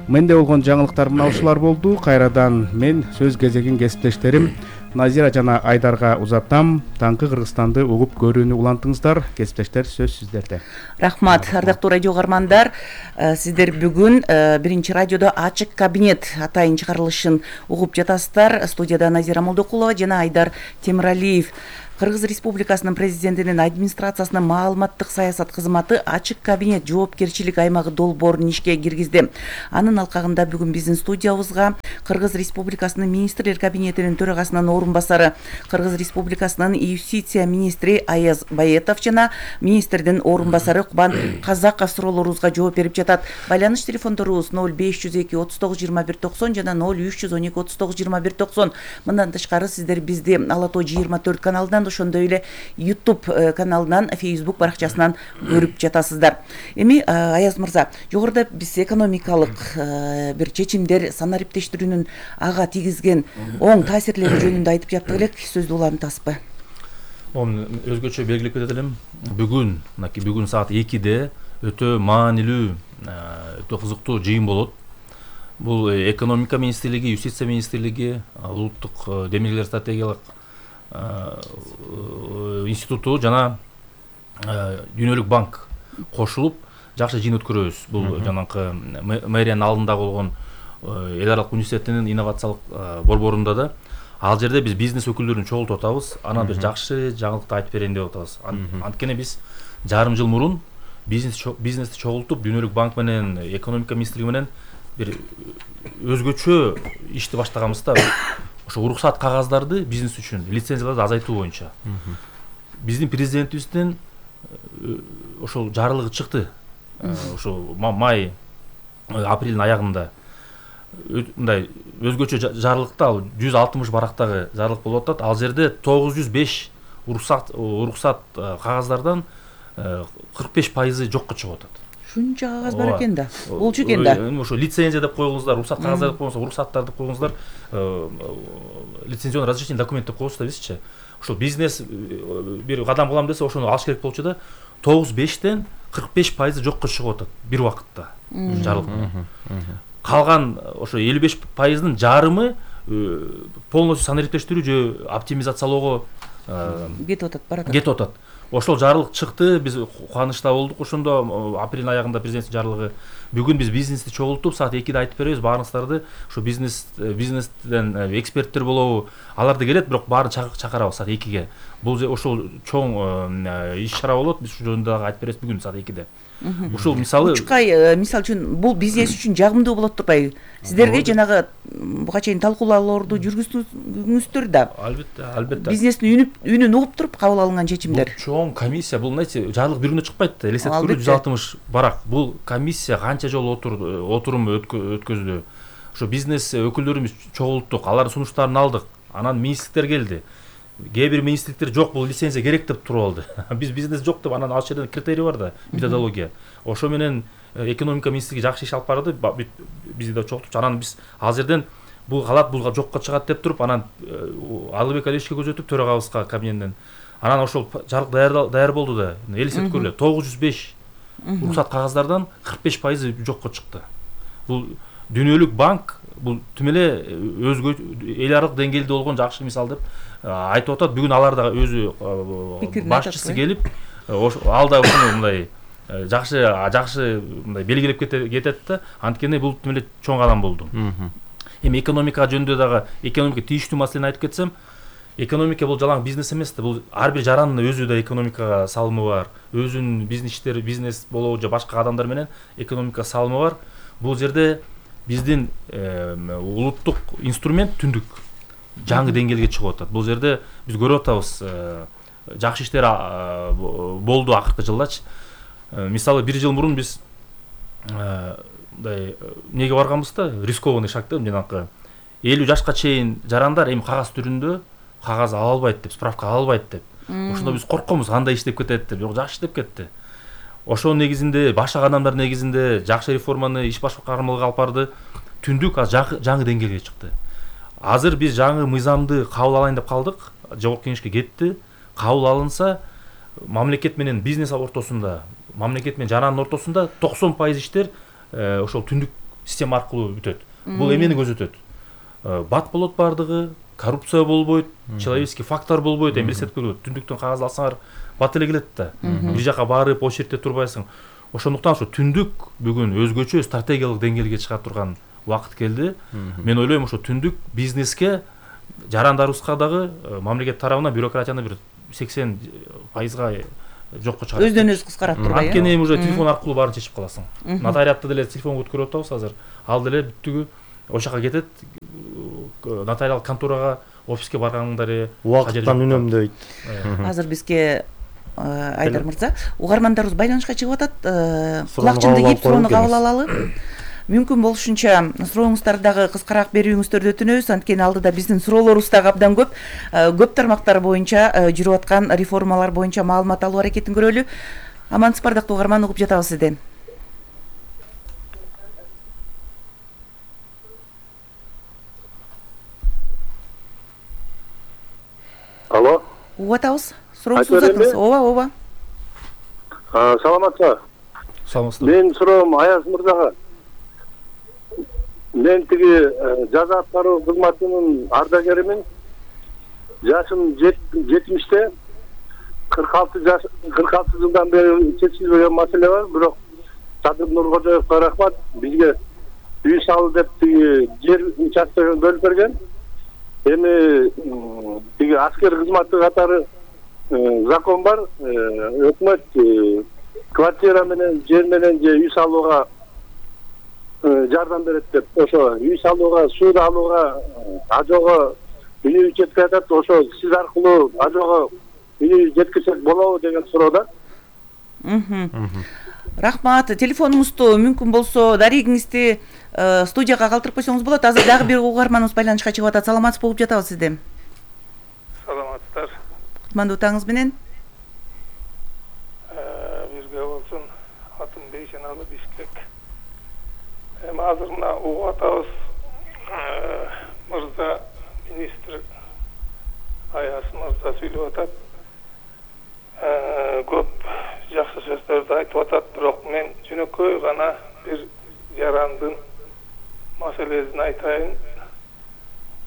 Менде болгон жаңылыктар мына ушулар болду. Кайрадан мен сөз кезегин кесиптештерим Назира жана Айдарга узатам. Таңкы Кыргызстанды угуп көрүүнү улантыңыздар. Кесиптештер, сөз сиздерде.
Рахмат, ардактуу радио угармандар. Сиздер бүгүн биринчи радиодо ачык кабинет атайын чыгарылышын угуп жатасыздар. Студияда Назира Молдокулова жана Айдар Темиралиев. Кыргыз Республикасынын президентинин администрациясынын маалыматтык саясат кызматы ачык кабинет жоопкерчилик аймагы долбоорун ишке киргизди. Анын алкагында бүгүн биздин студиябызга Кыргыз Республикасынын министрлер кабинетинин төрагасынын орун басары, Кыргыз Республикасынын юстиция министри Аяз Баетов жана министрдин орун басары Кубан Казаков суроолорубузга жооп берип жатат. Байланыш телефондорубуз ноль беш жүз эки отуз тогуз жыйырма бир токсон жана ноль үч жүз он эки отуз тогуз жыйырма бир токсон. Мындан тышкары сиздер бизди Ала тоо жыйырма төрт каналынан, ошондой эле YouTube каналынан, Facebook баракчасынан көрүп жатасыздар. Эми Аяз мырза, жогоруда биз экономикалык бир чечимдер, санариптештирүүнүн ага тийгизген оң таасирлери жөнүндө айтып жаттык элек, сөздү улантасызбы?
Оны өзгөчө белгилеп кетет элем. Бүгүн, мынакей бүгүн саат экиде өтө маанилүү, өтө кызыктуу жыйын болот. Бул экономика министрлиги, юстиция министрлиги, улуттук демилгелер стратегиялык институту жана Дүйнөлүк банк кошулуп жакшы жыйын өткөрөбүз. Бул жанакы мэриянын алдында болгон эл аралык университетинин инновациялык борборунда да. Ал жерде биз бизнес өкүлдөрүн чогултуп атабыз. Анан бир жакшы жаңылыкты айтып берейин деп атабыз. Анткени биз жарым жыл мурун бизнес бизнести чогултуп Дүйнөлүк банк менен экономика министрлиги менен бир өзгөчө ишти баштаганбызда, ошо уруксат кагаздарды бизнес үчүн, лицензияларды азайтуу боюнча. Биздин президентибиздин ошол жарлыгы чыкты. Ошо май апрелдин аягында мындай өзгөчө жарлыкта, ал жүз алтымыш барактагы жарлык болуп атат. Ал жерде тогуз жүз беш уруксат уруксат кагаздардан кырк беш пайызы жокко чыгып атат.
Шунча кагаз бар экен да. Болчу экен да.
Ошо лицензия деп койгуңуздар, уруксат кагаздар деп койгуңуздар, уруксаттар деп койгуңуздар, лицензионный разрешение документ деп коебуз да бизчи. Ошол бизнес бир кадам кылам десе, ошону алыш керек болчу да. тогуз бештен кырк беш пайызы жокко чыгып атат бир убакытта жарлык менен. Калган ошо элүү беш пайыздын жарымы полностью санариптештирүү же оптимизациялоого
кетип атат, барат.
Кетип атат. Ошол жарлык чыкты, биз кубанычта болдук. Ошондо апрелдин аягында президенттин жарлыгы. Бүгүн биз бизнести чогултуп, саат экиде айтып беребиз баарыңыздарды. Ошо бизнес бизнестен эксперттер болобу, аларды келет, бирок баарын чакырабыз саат экиге. Бул ошол чоң иш чара болот. Биз ушул жөнүндө айтып беребиз бүгүн саат экиде. Ушул мисалы
Учкай мисал үчүн бул бизнес үчүн жагымдуу болот турбайбы? Сиздерге жанагы буга чейин талкуулоолорду жүргүздүңүздөр да.
Албетте, албетте.
Бизнестин үнүн угуп туруп кабыл алынган чечимдер.
Чоң комиссия, бул знаете, жарлык бир күндө чыкпайт да. Элестетип көрү жүз алтымыш барак. Бул комиссия канча жолу отурум өткөздү. Ошо бизнес өкүлдөрүбүз чогулттук, алардын сунуштарын алдык. Анан министрликтер келди. Кээ бир министрликтер жок, бул лицензия керек деп туруп алды. Биз бизнес жок деп, анан ал жерде критерий бар да, методология. Ошо менен экономика министрлиги жакшы иш алып барды, бизди да чогултуп, анан биз ал жерден бул калат, бул жокко чыгат деп туруп, анан Алыбек Алиевичке көрсөтүп, төрагабызга кабинеттен. Анан ошол жарлык даяр болду да. Элестетип көрүлө, тогуз жүз беш уруксат кагаздардан кырк беш пайызы жокко чыкты. Бул Дүйнөлүк банк, бул түм эле өзгө эл аралык деңгээлде болгон жакшы мисал деп айтып атат. Бүгүн алар да өзү башчысы келип, ал да ушуну мындай жакшы жакшы мындай белгилеп кетет да. Анткени бул түм эле чоң кадам болду. Эми экономика жөнүндө дагы, экономика тийиштүү маселени айтып кетсем, экономика бул жалаң бизнес эмес да. Бул ар бир жарандын өзү да экономикага салымы бар. Өзүнүн бизнестери, бизнес болобу же башка адамдар менен экономика салымы бар. Бул жерде биздин улуттук инструмент түндүк жаңы деңгээлге чыгып атат. Бул жерде биз көрүп атабыз, жакшы иштер болду акыркы жылдачы. Мисалы бир жыл мурун биз мындай эмнеге барганбыз да, рискованный шаг да, жанакы элүү жашка чейин жарандар эми кагаз түрүндө кагаз ала албайт деп, справка ала албайт деп. Ошондо биз коркконбуз, кандай иштеп кетет деп. Бирок жакшы иштеп кетти. Ошонун негизинде, башка адамдар негизинде жакшы реформаны иш башкармалыгы алып барды. Түндүк азыр жаңы деңгээлге чыкты. Азыр биз жаңы мыйзамды кабыл алайын деп калдык. Жогорку кеңешке кетти. Кабыл алынса, мамлекет менен бизнес ортосунда, мамлекет менен жарандын ортосунда токсон пайыз иштер ошол түндүк система аркылуу бүтөт. Бул эмнени көрсөтөт? Бат болот бардыгы, коррупция болбойт, человеческий фактор болбойт. Эми элестетип көргүлө түндүктөн кагаз алсаңар бат эле келет да. Бир жака барып очередте турбайсың. Ошондуктан ушу түндүк бүгүн өзгөчө стратегиялык деңгээлге чыга турган убакыт келди. Мен ойлойм ошо түндүк бизнеске жарандарыбызга дагы мамлекет тарабынан бюрократияны бир сексен пайызга жокко чыгарат.
Өздөн өзү кыскарат турбайбы?
Анткени эми уже телефон аркылуу баарын чечип каласың. Нотариатты деле телефонго өткөрүп атабыз азыр. Ал деле бүттүгү ошол жака кетет. Нотариал конторага, офиске барганыңдар эле
убакыттан үнөмдөйт.
Азыр бизге Айдар мырза, угармандарыбыз байланышка чыгып атат. Кулакчынды кийип суроону кабыл алалы. Мүмкүн болушунча сурооңуздарды дагы кыскараак берүүңүздөрдү өтүнөбүз. Анткени алдыда биздин суроолорубуз дагы абдан көп. Көп тармактар боюнча жүрүп аткан реформалар боюнча маалымат алуу аракетин көрөлү. Амансыз бардактуу угарман, угуп жатабыз сизден.
Алло.
Угуп атабыз. Сурооңузду узатыңыз. Ооба, ооба.
Саламатсызбы?
Саламатсызбы.
Мен суроом Аяз мырзага. Мен тиги жаза аткаруу кызматынын ардагеримин. Жашым жетимиште. кырк алты жаш кырк алты жылдан бери чечилбеген маселе бар, бирок Садыр Нуркожоевго рахмат, бизге үй салуу деп тиги жер участкасын бөлүп берген. Эми тиги аскер кызматы катары закон бар, өкмөт квартира менен жер менен же үй салууга жардам берет деп, ошо үй салууга, суу алууга, ажоого үйү жеткизет, ошо сиз аркылуу ажоого үйү жеткизсек болобу деген суроодо.
Рахмат. Телефонуңузду мүмкүн болсо дарегиңизди студияга калтырып койсоңуз болот. Азыр дагы бир угарманыбыз байланышка чыгып атат. Саламатсызбы, угуп жатабыз сизди.
Саламатсыздар.
Кутмандуу таңыңыз менен.
Бирге болсун. Атым Бейшеналы, Бишкек. Эми азыр мына угуп атабыз. Мырза министр Аяз мырза сүйлөп атат. Көп жакшы сөздөрдү айтып атат, бирок мен жөнөкөй гана бир жарандын маселесин айтайын.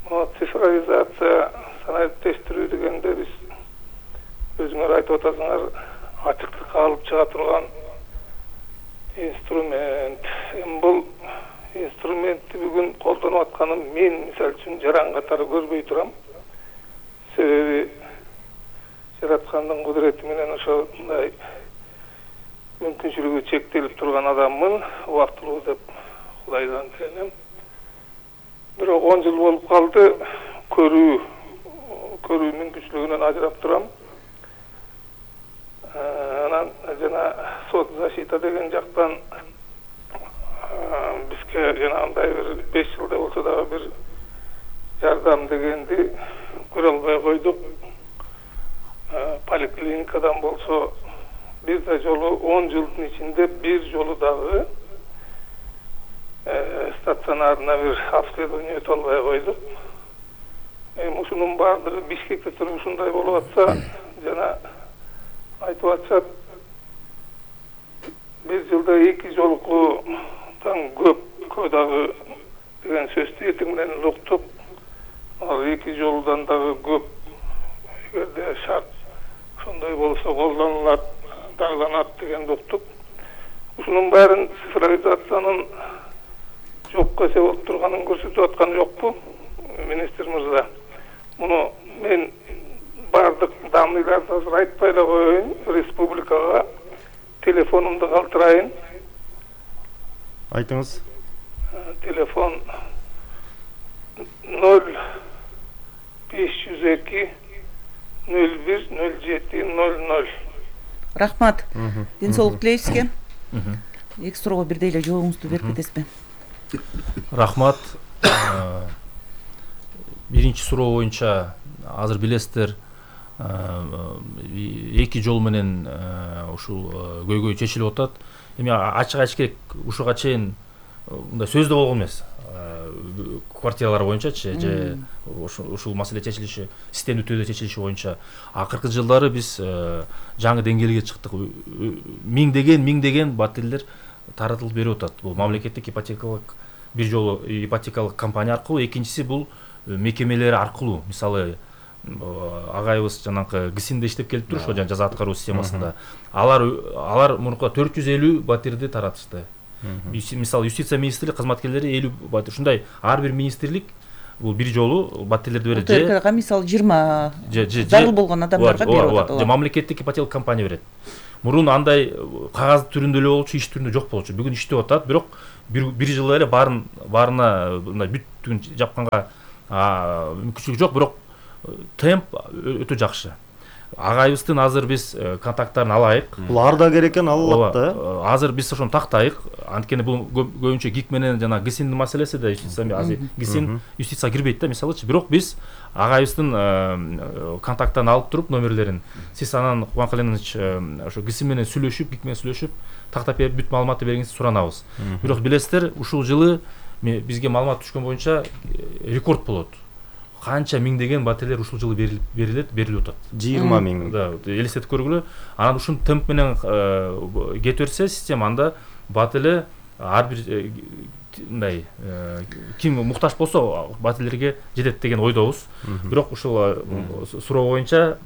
Мына цифровизация, санариптештирүү дегенде биз өзүңөр айтып атасыңар, ачыктыкка алып чыга турган инструмент. Эми бул инструментти бүгүн колдонуп атканын мен мисалы үчүн жаран катары көрбөй турам. Себеби жараткандын кудурети менен ошондой мүмкүнчүлүгү чектелип турган адаммын, убактылуу деп Кудайдан тиленем. Бирок он жыл болуп калды, көрүү көрүү мүмкүнчүлүгүнөн ажырап турам. Анан жана сот защита деген жактан бизге жанагындай бир беш жылда болсо дагы бир жардам дегенди көрө албай койдук. Поликлиникадан болсо бир да жолу он жылдын ичинде бир жолу дагы стационарына бир обследование өтө албай койдук. Эми ушунун баардыгы Бишкекте туруп ушундай болуп атса, жана айтып атышат, бир жылда эки жолкудан көпкө дагы деген сөздү эртең менен уктуп, ал эки жолудан дагы көп эгерде шарт ошондой болсо колдонулат, дагыланат дегенди уктуп. Ушунун баарын цифровизациянын жокко эсеп болуп турганын көрсөтүп аткан жокпу министр мырза? Муну мен бардык дамыйларды азыр айтпай эле коеюн, республикага телефонумду калтырайын.
Айтыңыз.
Телефон ноль беш жүз эки ноль бир ноль жети ноль ноль.
Рахмат. Ден соолук тилейбиз сизге. Эки суроого бирдей эле жообуңузду берип кетесизби?
Рахмат. Биринчи суроо боюнча азыр билесиздер, эки жол менен ушул көйгөй чечилип атат. Эми ачык айтыш керек, ушуга чейин мындай сөздө болгон эмес. Квартиралар боюнчачы же ушул маселе чечилиши, системдүү түрдө чечилиши боюнча акыркы жылдары биз жаңы деңгээлге чыктык. Миңдеген миңдеген баттелдер таратылып берип атат. Бул мамлекеттик ипотекалык бир жолу ипотекалык компания аркылуу, экинчиси бул мекемелери аркылуу, мисалы агайыбыз жанагы ГСИНде иштеп келип тур, ошо жаза аткаруу системасында алар алар мурунку төрт жүз элүү батирди таратышты. Мисалы юстиция министрлиги кызматкерлери элүү батир, ушундай ар бир министрлик бул бир жолу батирлерди берет.
УТРКга мисалы жыйырма зарыл болгон адамдарга берип атат.
Же мамлекеттик ипотека компания берет. Мурун андай кагаз түрүндө эле болчу, иш түрүндө жок болчу. Бүгүн иштеп атат, бирок бир бир жыл эле баарын баарына мындай бүттүгүн жапканга мүмкүнчүлүк жок, бирок темп өтө жакшы. Агайыбыздын азыр биз контакттарын алайык.
Бул ар да керек экен, алат да.
Азыр биз ошону тактайык. Анткени бул көбүнчө ГИК менен жана ГСИНдин маселеси да, юстиция азыр ГСИН юстиция кирбейт да, мисалычы. Бирок биз агайыбыздын контакттарын алып туруп номерлерин, сиз анан Кубан Каленович ошо ГСИН менен сүйлөшүп, ГИК менен сүйлөшүп, тактап берип бүт маалыматты бергенсиз суранабыз. Бирок билесиздер, ушул жылы бизге маалымат түшкөн боюнча рекорд болот. Канча миңдеген батирлер ушул жылы берилет, берилип атат.
жыйырма миң.
Да, элестетип көргүлө. Анан ушун темп менен кете берсе система, анда бат эле ар бир мындай ким муктаж болсо батирлерге жетет деген ойдобуз. Бирок ушул суроо боюнча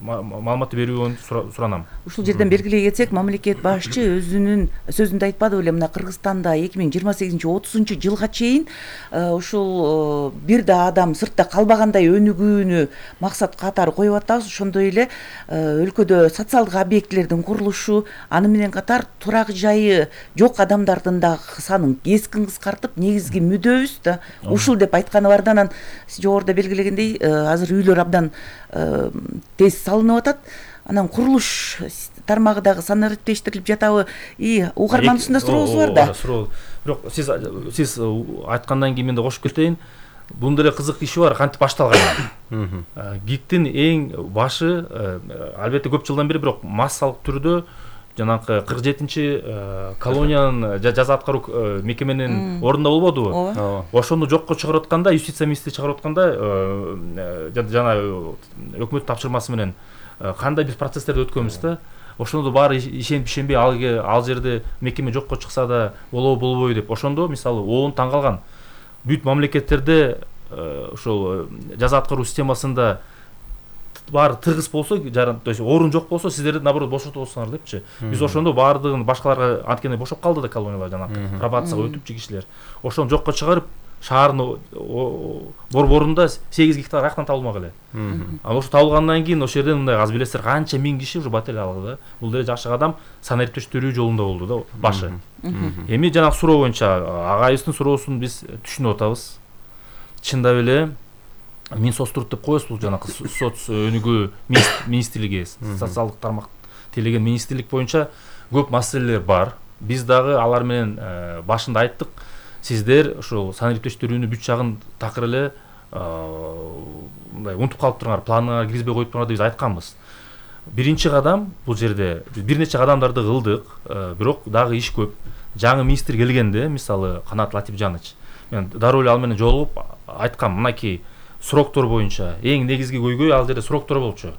маалыматты берүүнү суранам.
Ушул жерден белгилей кетсек, мамлекет башчы өзүнүн сөзүндө айтпады беле, мына Кыргызстанда эки миң жыйырма сегизинчи отузунчу жылга чейин ушул бир да адам сыртта калбагандай өнүгүүнү максат катары коюп атабыз. Ошондой эле өлкөдө социалдык объектилердин курулушу, аны менен катар турак жайы жок адамдардын да санын кескин кыскартып, негизги мүдөбүз да ушул деп айтканы бар да. Анан жогоруда белгилегендей, азыр үйлөр абдан тез салынып атат. Анан курулуш тармагы дагы санариптештирилип жатабы? И угарман ушундай сурообуз бар да.
Бирок сиз сиз айткандан кийин мен да кошуп кетейин. Бундай эле кызык иши бар, кантип башталган. ГИКтин эң башы, албетте көп жылдан бери, бирок массалык түрдө жанагы кырк жетинчи колониянын жаза аткаруу мекеменин ордунда болбодубу? Ошону жокко чыгарып атканда, юстиция министри чыгарып атканда, жана өкмөт тапшырмасы менен кандай биз процесстерди өткөнбүз да. Ошондо баары ишенип ишенбей ал жерде мекеме жокко чыкса да болобу болбойбу деп. Ошондо мисалы оон таң калган. Бүт мамлекеттерде ошол жаза аткаруу системасында баары тыгыз болсо, то есть орун жок болсо, сиздерди наоборот бошотосуңар депчи. Биз ошондо баардыгын башкаларга анткени бошоп калды да колониялар, жана пробацияга өтүпчү кишилер. Ошону жокко чыгарып, шаардын борборунда сегиз гектар аяктан табылмак эле. Ал ошо табылгандан кийин ошол жерден мындай аз билесиздер канча миң киши уже батир алды да. Бул деле жашык адам санариптештирүү жолунда болду да башы. Эми жанагы суроо боюнча агайыбыздын суроосун биз түшүнүп атабыз. Чындап эле Минсоцтруд деп коебуз, бул жанагы соц өнүгүү министрлиги, социалдык тармак тейлеген министрлик боюнча көп маселелер бар. Биз дагы алар менен башында айттык. Сиздер ушул санариптештирүүнү бүт жагын такыр эле мындай унутуп калып турган, планыңарга киргизбей коюп турган деп биз айтканбыз. Биринчи кадам бул жерде биз бир нече кадамдарды кылдык, бирок дагы иш көп. Жаңы министр келгенде, мисалы Канат Латипжанович, мен дароо эле ал менен жолугуп айткам, мынакей сроктор боюнча эң негизги көйгөй ал жерде сроктор болчу.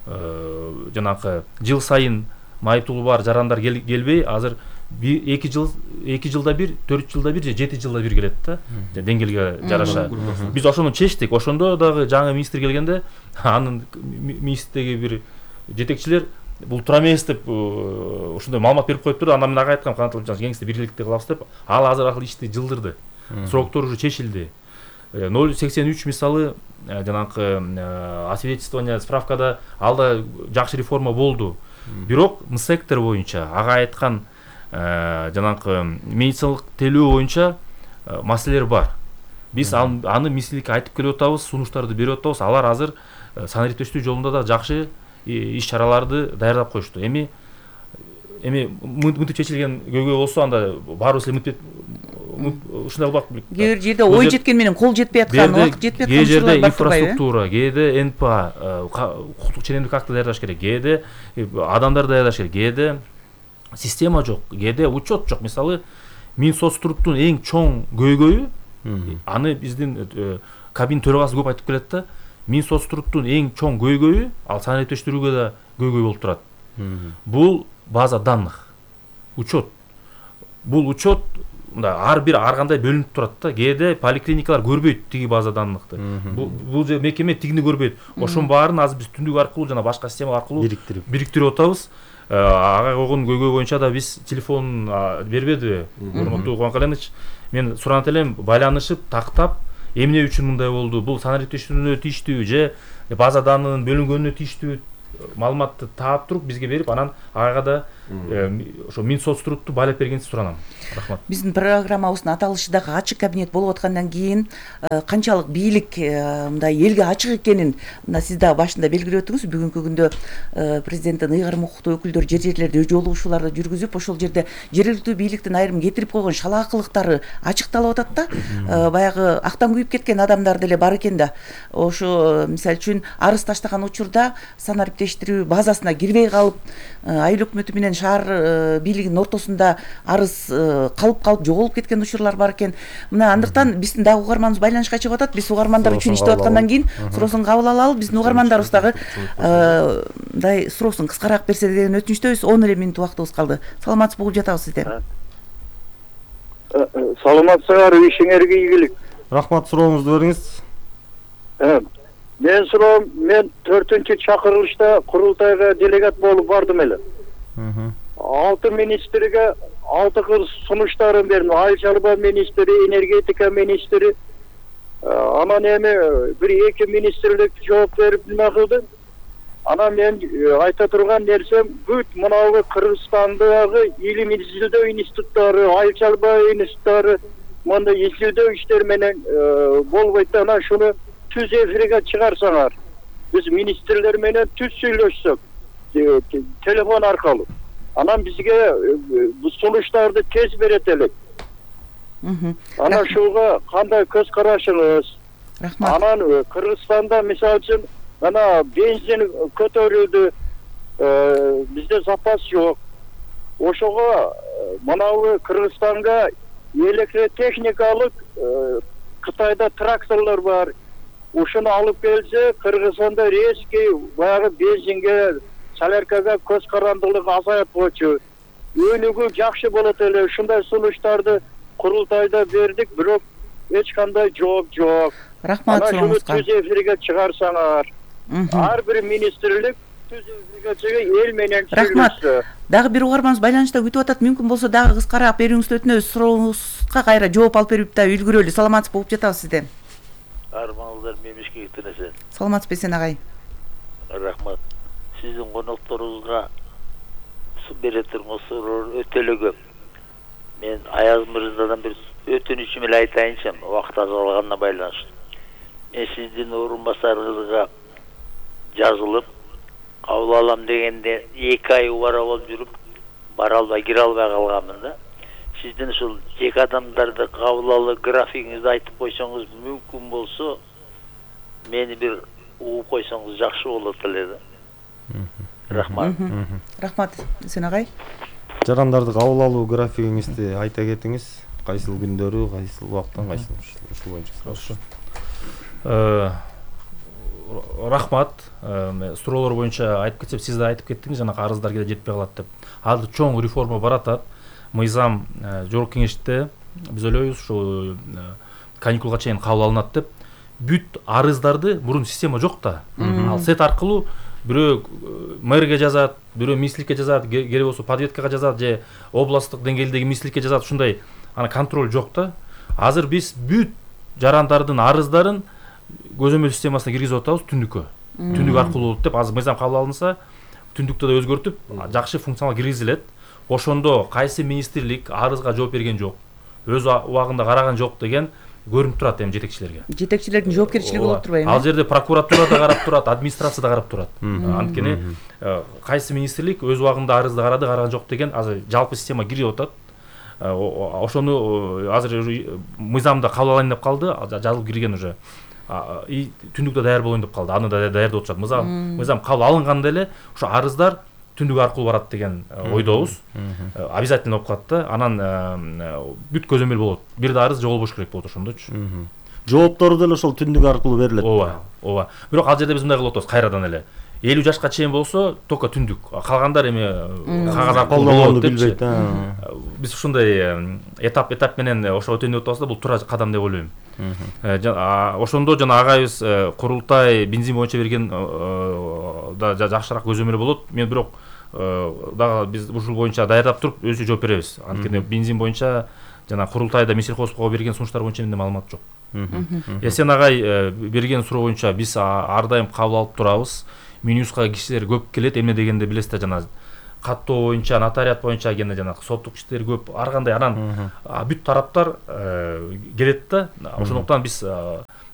Жанагы жыл сайын майыптуулу бар жарандар келбей, азыр эки жыл эки жылда бир, төрт жылда бир же жети жылда бир келет да, деңгээлге жараша. Биз ошону чечтик. Ошондо дагы жаңы министр келгенде, анын министрдеги бир жетекчилер бул туура эмес деп ошондой маалымат берип коюп турду. Андан мен ага айткам, Канат Латипжанович, кеңесте бирликте кылабыз деп. Ал азыр акыл ишти жылдырды. Сроктор уже чечилди. ноль сексен үч мисалы жанагы освидетельствование, справкада алда жакшы реформа болду. Бирок сектор боюнча ага айткан жанагы медициналык тейлөө боюнча маселелер бар. Биз аны министрликке айтып келип атабыз, сунуштарды берип атабыз. Алар азыр санариптештирүү жолунда да жакшы иш чараларды даярдап коюшту. Эми эми мынтип чечилген көйгөй болсо, анда баарыбыз эле мынтип ушундай болбак.
Кээ бир жерде ой жеткен менен кол жетпей аткан, убакыт жетпей аткан
учурлар бар турбайбы? Инфраструктура, кээде эн пэ а, укуктук ченемдик акты даярдаш керек, кээде адамдар даярдаш керек, кээде система жок, кээде учет жок. Мисалы, Минсоцтрудтун эң чоң көйгөйү, аны биздин кабин төрагасы көп айтып келет да, Минсоцтрудтун эң чоң көйгөйү, ал санариптештирүүгө да көйгөй болуп турат. Бул база данных, учет. Бул учет мындай ар бир ар кандай бөлүнүп турат да. Кээде поликлиникалар көрбөйт тиги база даннықты. Бул же мекеме тигини көрбөйт. Ошонун баарын азыр биз түндүк аркылуу жана башка система аркылуу
бириктирип
бириктирип атабыз. Ага койгон көйгөй боюнча да биз телефон бербеди урматтуу Кубан Каленович. Мен суранат элем, байланышып, тактап, эмне үчүн мындай болду? Бул санариптештирүүнү тийиштүү же база данынын бөлүнгөнүнө тийиштүү маалыматты таап туруп бизге берип, анан ага да ошо Минсоцтрукту байлап бергенсиз суранам. Рахмат.
Биздин программабыздын аталышы дагы ачык кабинет болуп аткандан кийин канчалык бийлик мындай элге ачык экенин мына сиз дагы башында белгилеп өттүңүз. Бүгүнкү күндө президенттин ыйгарым укуктуу өкүлдөрү жер жерлерде жолугушууларды жүргүзүп, ошол жерде жергиликтүү бийликтин айрым кетирип койгон шалаакылыктары ачыкталып атат да. Баягы актан күйүп кеткен адамдар деле бар экен да. Ошо мисалы үчүн арыз таштаган учурда санариптештирүү базасына кирбей калып, айыл өкмөтү менен шаар бийлигинин ортосунда арыз калып калып жоголуп кеткен учурлар бар экен. Мына андыктан биздин дагы угарманыбыз байланышка чыгып атат. Биз угармандар үчүн иштеп аткандан кийин суроосун кабыл алалы. Биздин угармандарыбыз дагы мындай суроосун кыскараак берсе деген өтүнүчтөбүз. он эле минут убактыбыз калды. Саламатсызбы, угуп жатабыз сизден.
Саламатсыздар, ишиңерге ийгилик.
Рахмат, сурооңузду бериңиз.
Мен суроом, мен төртүнчү чакырылышта курултайга делегат болуп бардым эле. Алты министрге алты кыл сунуштарын бердим. Айыл чарба министри, энергетика министри, анан эми бир эки министрлик жооп берип неме кылды. Анан мен айта турган нерсем, бүт мынабу Кыргызстандагы илим изилдөө институттары, айыл чарба институттары мындай изилдөө иштер менен болбойт. Анан шуну түз эфирге чыгарсаңар, биз министрлер менен түз сүйлөшсөк, телефон аркылуу. Анан бизге бу сунуштарды тез берет элек. Анан шуга кандай көз карашыңыз?
Рахмат.
Анан Кыргызстанда мисалы үчүн мына бензин көтөрүлдү, бизде запас жок. Ошого мынабу Кыргызстанга электротехникалык Кытайда тракторлор бар. Ушуну алып келсе, Кыргызстанда резкий баягы бензинге, соляркага көз карандылык азаяп койчу. Өнүгүү жакшы болот эле. Ушундай сунуштарды курултайда бердик, бирок эч кандай жооп жок.
Рахмат суроңузга.
Түз эфирге чыгарсаңар. Ар бир министрлик түз эфирге чыгып эл менен
сүйлөшсө. Дагы бир угарманыбыз байланышта күтүп атат. Мүмкүн болсо дагы кыскараак берүүңүздү өтүнөбүз. Сурооңузга кайра жооп алып берип да үлгүрөлү. Саламатсызбы, угуп жатабыз сизден.
Арманыңыздар мемишке кетинесе.
Саламатсызбы сен агай.
Рахмат. Сиздин конокторуңузга бере турган суроо өтө эле көп. Мен Аяз мырзадан бир өтүнүчүм эле айтайынчы, убакыт азалганына байланыштуу. Мен сиздин орун басарыңызга жазылып, кабыл алам дегенде эки ай убара болуп жүрүп, бара албай, кире албай калганмын да. Сиздин ушул жеке адамдарды кабыл алып, графигиңизди айтып койсоңуз, мүмкүн болсо, мени бир угуп койсоңуз жакшы болот эле да. Рахмат.
Рахмат, сен агай.
Жарандарды кабыл алуу графигиңизди айта кетиңиз. Кайсыл күндөрү, кайсыл убакыттан, кайсыл ушул боюнча суроо.
Рахмат. Суроолор боюнча айтып кетсем, сиз да айтып кеттиңиз, жана арыздар кээде жетпей калат деп. Азыр чоң реформа баратат. Мыйзам жогорку кеңеште биз ойлойбуз, ушу каникулга чейин кабыл алынат деп. Бүт арыздарды мурун система жок да. Ал сет аркылуу бирөө мэрге жазат, бирөө министрликке жазат, керек болсо подветкага жазат же областтык деңгээлдеги министрликке жазат, ушундай ана контроль жок да. Азыр биз бүт жарандардын арыздарын көзөмөл системасына киргизип атабыз түндүккө. Түндүк аркылуу болот деп, азыр мыйзам кабыл алынса, түндүктө да өзгөртүп, жакшы функционал киргизилет. Ошондо кайсы министрлик арызга жооп берген жок, өз убагында караган жок деген көрүнүп турат эми жетекчилерге.
Жетекчилердин жоопкерчилиги болуп турбайбы?
Ал жерде прокуратура да карап турат, администрация да карап турат. Анткени кайсы министрлик өз убагында арызды карады, караган жок деген азыр жалпы система кирип атат. Ошону азыр мыйзамда кабыл алайын деп калды, жазылып кирген уже. И түндүктө даяр болоюн деп калды. Аны да даярдап атышат. Мыйзам кабыл алынганда эле ошо арыздар түндүк аркылуу барат деген ойдобуз. Обязательно болуп калат да. Анан бүт көзөмөл болот. Бир да арыз жоголбош керек болот ошондочу.
Жооптору деле ошол түндүк аркылуу берилет.
Ооба, ооба. Бирок ал жерде биз мындай кылып атабыз кайрадан эле. элүү жашка чейин болсо только түндүк, калгандар эми кагаз аркылуу
колдонгонду
болот депчи.
билбейт.
Биз ушундай этап этап менен ошо өтөнүп атабыз да, бул туура кадам деп ойлойм. Ошондо жана агайыбыз курултай бензин боюнча берген да жакшыраак көзөмөл болот. Мен бирок дагы биз ушул боюнча даярдап туруп өзү жооп беребиз. Анткени бензин боюнча жана курултайда Минсельхозго берген сунуштар боюнча менде маалымат жок. Эсен агай берген суроо боюнча биз ар дайым кабыл алып турабыз. Минюска кишилер көп келет, эмне дегенде билесиз жана каттоо боюнча, нотариат боюнча гене жана соттук иштер көп, ар кандай анан бүт тараптар келет да. Ошондуктан биз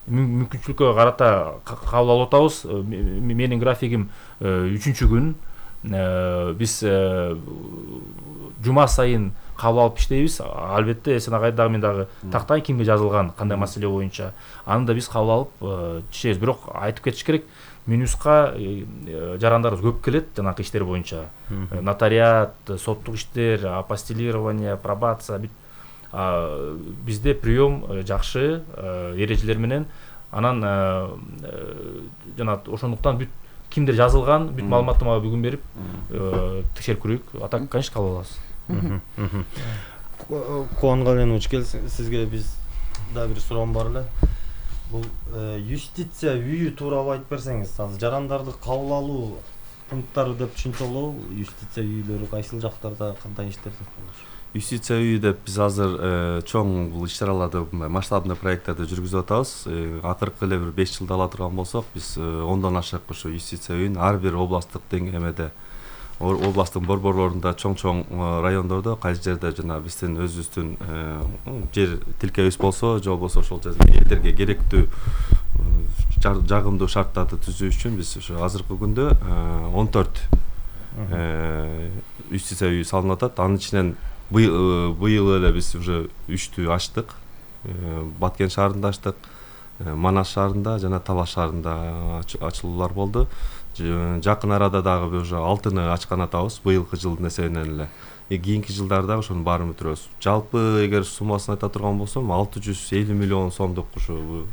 мүмкүнчүлүккө карата кабыл алып атабыз. Менин графигим үчүнчү күн. Биз жума сайын кабыл алып иштейбиз. Албетте Эсен агай дагы мен дагы тактайын кимге жазылган, кандай маселе боюнча. Аны да биз кабыл алып чечебиз. Бирок айтып кетиш керек, Минюска жарандарыбыз көп келет жанакы иштер боюнча. Нотариат, соттук иштер, апостилирование, пробация. Бизде прием жакшы, эрежелер менен. Анан жана ошондуктан бүт кимдер жазылган, бүт маалыматты мага бүгүн берип текшерип көрөйүк. А так, конечно, кабыл алабыз.
Кубан Каленович, сизге биз дагы бир суроом бар эле. Бул юстиция үйү тууралуу айтып берсеңиз, азыр жарандарды кабыл алуу пункттары деп түшүнсөк болобу? Юстиция үйлөрү кайсыл жактарда, кандай иштерде?
Юстиция үйү деп биз азыр чоң бул иш-чараларды, масштабный проекттерди жүргүзүп атабыз. Акыркы эле бир беш жылда ала турган болсок, биз ондон ашык ушу юстиция үйүн ар бир областтык деңгээлде, областтын борборлорунда, чоң-чоң райондордо, кайсы жерде жана биздин өзүбүздүн жер тилкебиз болсо, же болбосо ошол жерде элдерге керектүү жагымдуу шарттарды түзүү үчүн биз ушу азыркы күндө он төрт юстиция үйү салынып атат. Анын ичинен быйыл эле биз уже үчтү ачтык. Баткен шаарында ачтык, Манас шаарында жана Талас шаарында ачылуулар болду. Жакын арада дагы уже алтыны ачкан атабыз, быйылкы жылдын эсебинен эле. Кийинки жылдарда ошонун баарын бүтүрөбүз. Жалпы эгер суммасын айта турган болсом, алты жүз элүү миллион сомдук ушу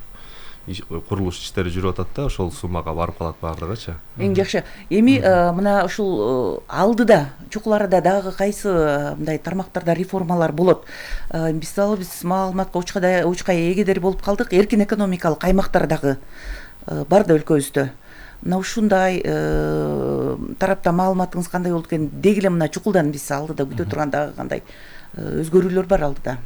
курулуш иштери жүрүп атат да, ошол суммага барып калат баардыгычы.
Эң жакшы. Эми мына ушул алдыда, чукул арада дагы кайсы мындай тармактарда реформалар болот? Мисалы биз маалыматка учкай эгедер болуп калдык, эркин экономикалык аймактар дагы бар да өлкөбүздө. Мына ушундай тарапта маалыматыңыз кандай болду экен? Деги эле мына чукулдан биз алдыда күтө турган дагы кандай өзгөрүүлөр бар алдыда?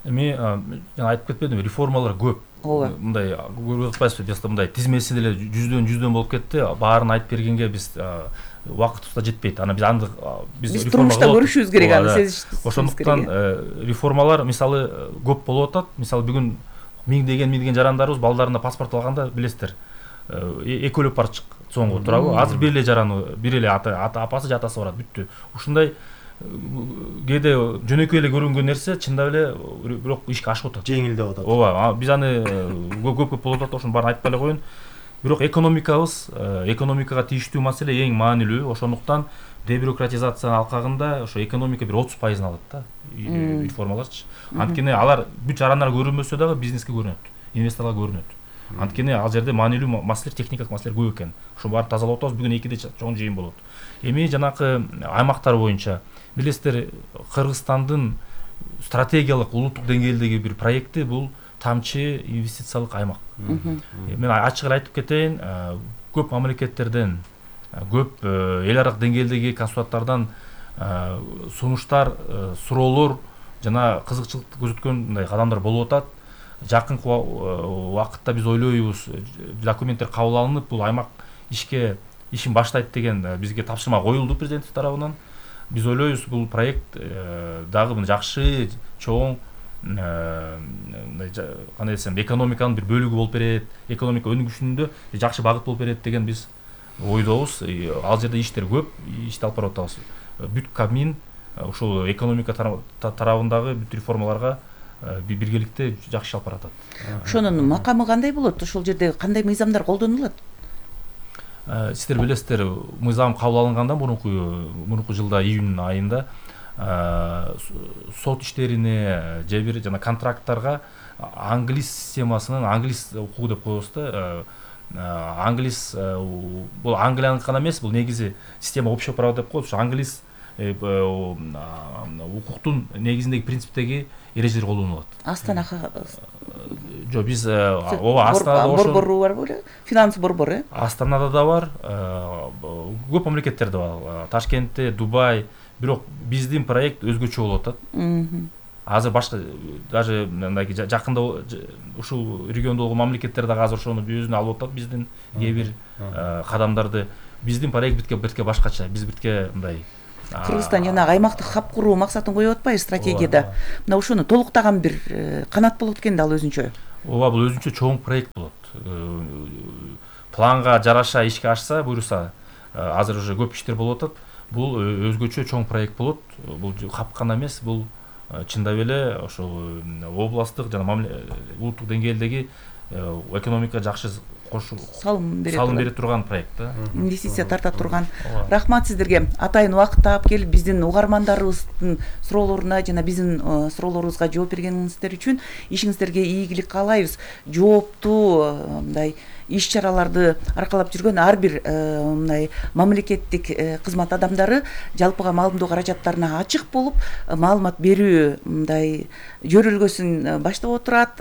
Эми жана айтып кетпедимби, реформалар көп. Мындай көрүп атпайсызбы, бизде мындай тизмеси деле жүздөн жүздөн болуп кетти. Баарын айтып бергенге биз убакытыбыз да жетпейт. Аны биз аны
биз турмушта көрүшүбүз керек, аны сезишибиз.
Ошондуктан реформалар мисалы көп болуп атат. Мисалы бүгүн миңдеген миңдеген жарандарыбыз балдарына паспорт алганда билесиздер, экөөлөп барып чыкконго туурабы? Азыр бир эле жараны, бир эле апасы же атасы барат, бүттү. Ушундай кээде жөнөкөй эле көрүнгөн нерсе чындап эле бирок ишке ашып атат.
Жеңилдеп атат.
Ооба, биз аны көп-көп болуп атат, ошонун баарын айтпай эле коеюн. Бирок экономикабыз, экономикага тийиштүү маселе эң маанилүү. Ошондуктан дебюрократизация алкагында ошо экономика бир отуз пайызын алат да, реформаларчы. Анткени алар бүт жарандар көрүнбөсө дагы бизнеске көрүнөт, инвесторго көрүнөт. Анткени ал жерде маанилүү маселелер, техникалык маселелер көп экен. Ошо баарын тазалап атабыз. Бүгүн экиде чоң жыйын болот. Эми жанакы аймактар боюнча билесиздер, Кыргызстандын стратегиялык улуттук деңгээлдеги бир проекти бул тамчы инвестициялык аймак. Мен ачык эле айтып кетейин, көп мамлекеттерден, көп эл аралык деңгээлдеги консулаттардан сунуштар, суроолор жана кызыкчылык көрсөткөн мындай кадамдар болуп атат. Жакынкы убакытта биз ойлойбуз, документтер кабыл алынып, бул аймак ишке ишин баштайт деген бизге тапшырма коюлду президент тарабынан. Биз ойлойбуз, бул проект дагы жакшы, чоң, кандай десем, экономиканын бир бөлүгү болуп берет, экономика өнүгүшүндө жакшы багыт болуп берет деген биз ойдобуз. Ал жерде иштер көп, ишти алып барып атабыз. Бүт Кабмин ушул экономика тарабындагы бүт реформаларга биргеликте жакшы алып баратат.
Ошонун макамы кандай болот? Ошол жерде кандай мыйзамдар колдонулат?
Сиздер билесиздер, мыйзам кабыл алынгандан мурунку мурунку жылда июнь айында сот иштерине же бир жана контракттарга англис системасынын, англис укугу деп коебуз да, англис бул Англияныкы гана эмес, бул негизи система общего права деп коет. Ушу англис укуктун негизиндеги принциптеги эрежелер колдонулат.
Астана
жок, биз ооба Астанада
борбору бар беле? Финанс борбору, э?
Астанада да бар, көп мамлекеттерде бар. Ташкентте, Дубай, бирок биздин проект өзгөчө болуп атат. Азыр башка даже мындай жакында ушул региондогу мамлекеттер дагы азыр ошону өзүнө алып атат, биздин кээ бир кадамдарды. Биздин проект битке битке башкача. Биз битке мындай
Кыргызстан жанагы аймактык хаб куруу максатын коюп атпайбы стратегияда? Мына ошону толуктаган бир канат болот экен да ал өзүнчө.
Ооба, бул өзүнчө чоң проект болот. Планга жараша ишке ашса, буюрса, азыр уже көп иштер болуп атат. Бул өзгөчө чоң проект болот. Бул хаб гана эмес, бул чындап эле ошол областтык жана улуттук деңгээлдеги экономикага жакшы салым бере турган проект да.
Инвестиция тарта турган. Рахмат сиздерге. Атайын убакыт таап келип биздин угармандарыбыздын суроолоруна жана биздин суроолорубузга жооп бергениңиздер үчүн ишиңиздерге ийгилик каалайбыз. Жооптуу мындай иш-чараларды аркалап жүргөн ар бир мындай мамлекеттик кызмат адамдары жалпыга маалымдоо каражаттарына ачык болуп, маалымат берүү мындай жөрөлгөсүн баштап отурат.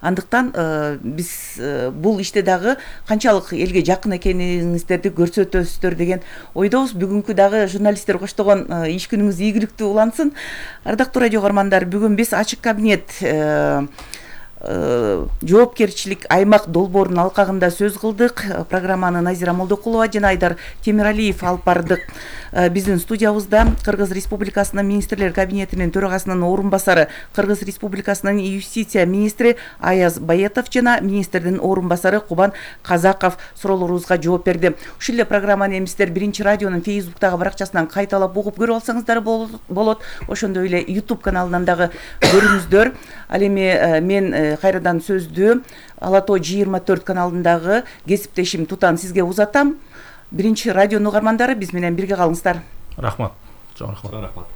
Андыктан биз бул иште дагы канчалык элге жакын экениңиздерди көрсөтөсүздөр деген ойдобуз. Бүгүнкү дагы журналисттер коштогон иш күнүңүз ийгиликтүү улансын. Ардактуу радио угармандар, бүгүн биз ачык кабинет жоопкерчилик аймак долбоорунун алкагында сөз кылдык. Программаны Назира Молдокулова жана Айдар Темиралиев алып бардык. Биздин студиябызда Кыргыз Республикасынын министрлер кабинетинин төрагасынын орун басары, Кыргыз Республикасынын юстиция министри Аяз Баетов жана министрдин орун басары Кубан Казаков суроолорубузга жооп берди. Ушул эле программаны эми сиздер Биринчи радионун Фейсбуктагы баракчасынан кайталап угуп көрүп алсаңыздар болот. Ошондой эле YouTube каналынан дагы көрүңүздөр. Ал эми мен кайрадан сөздү Ала Тоо жыйырма төрт каналындагы кесиптешим Тутан сизге узатам. Биринчи радионун угармандары, биз менен бирге калыңыздар.
Рахмат. Чоң рахмат.
Рахмат.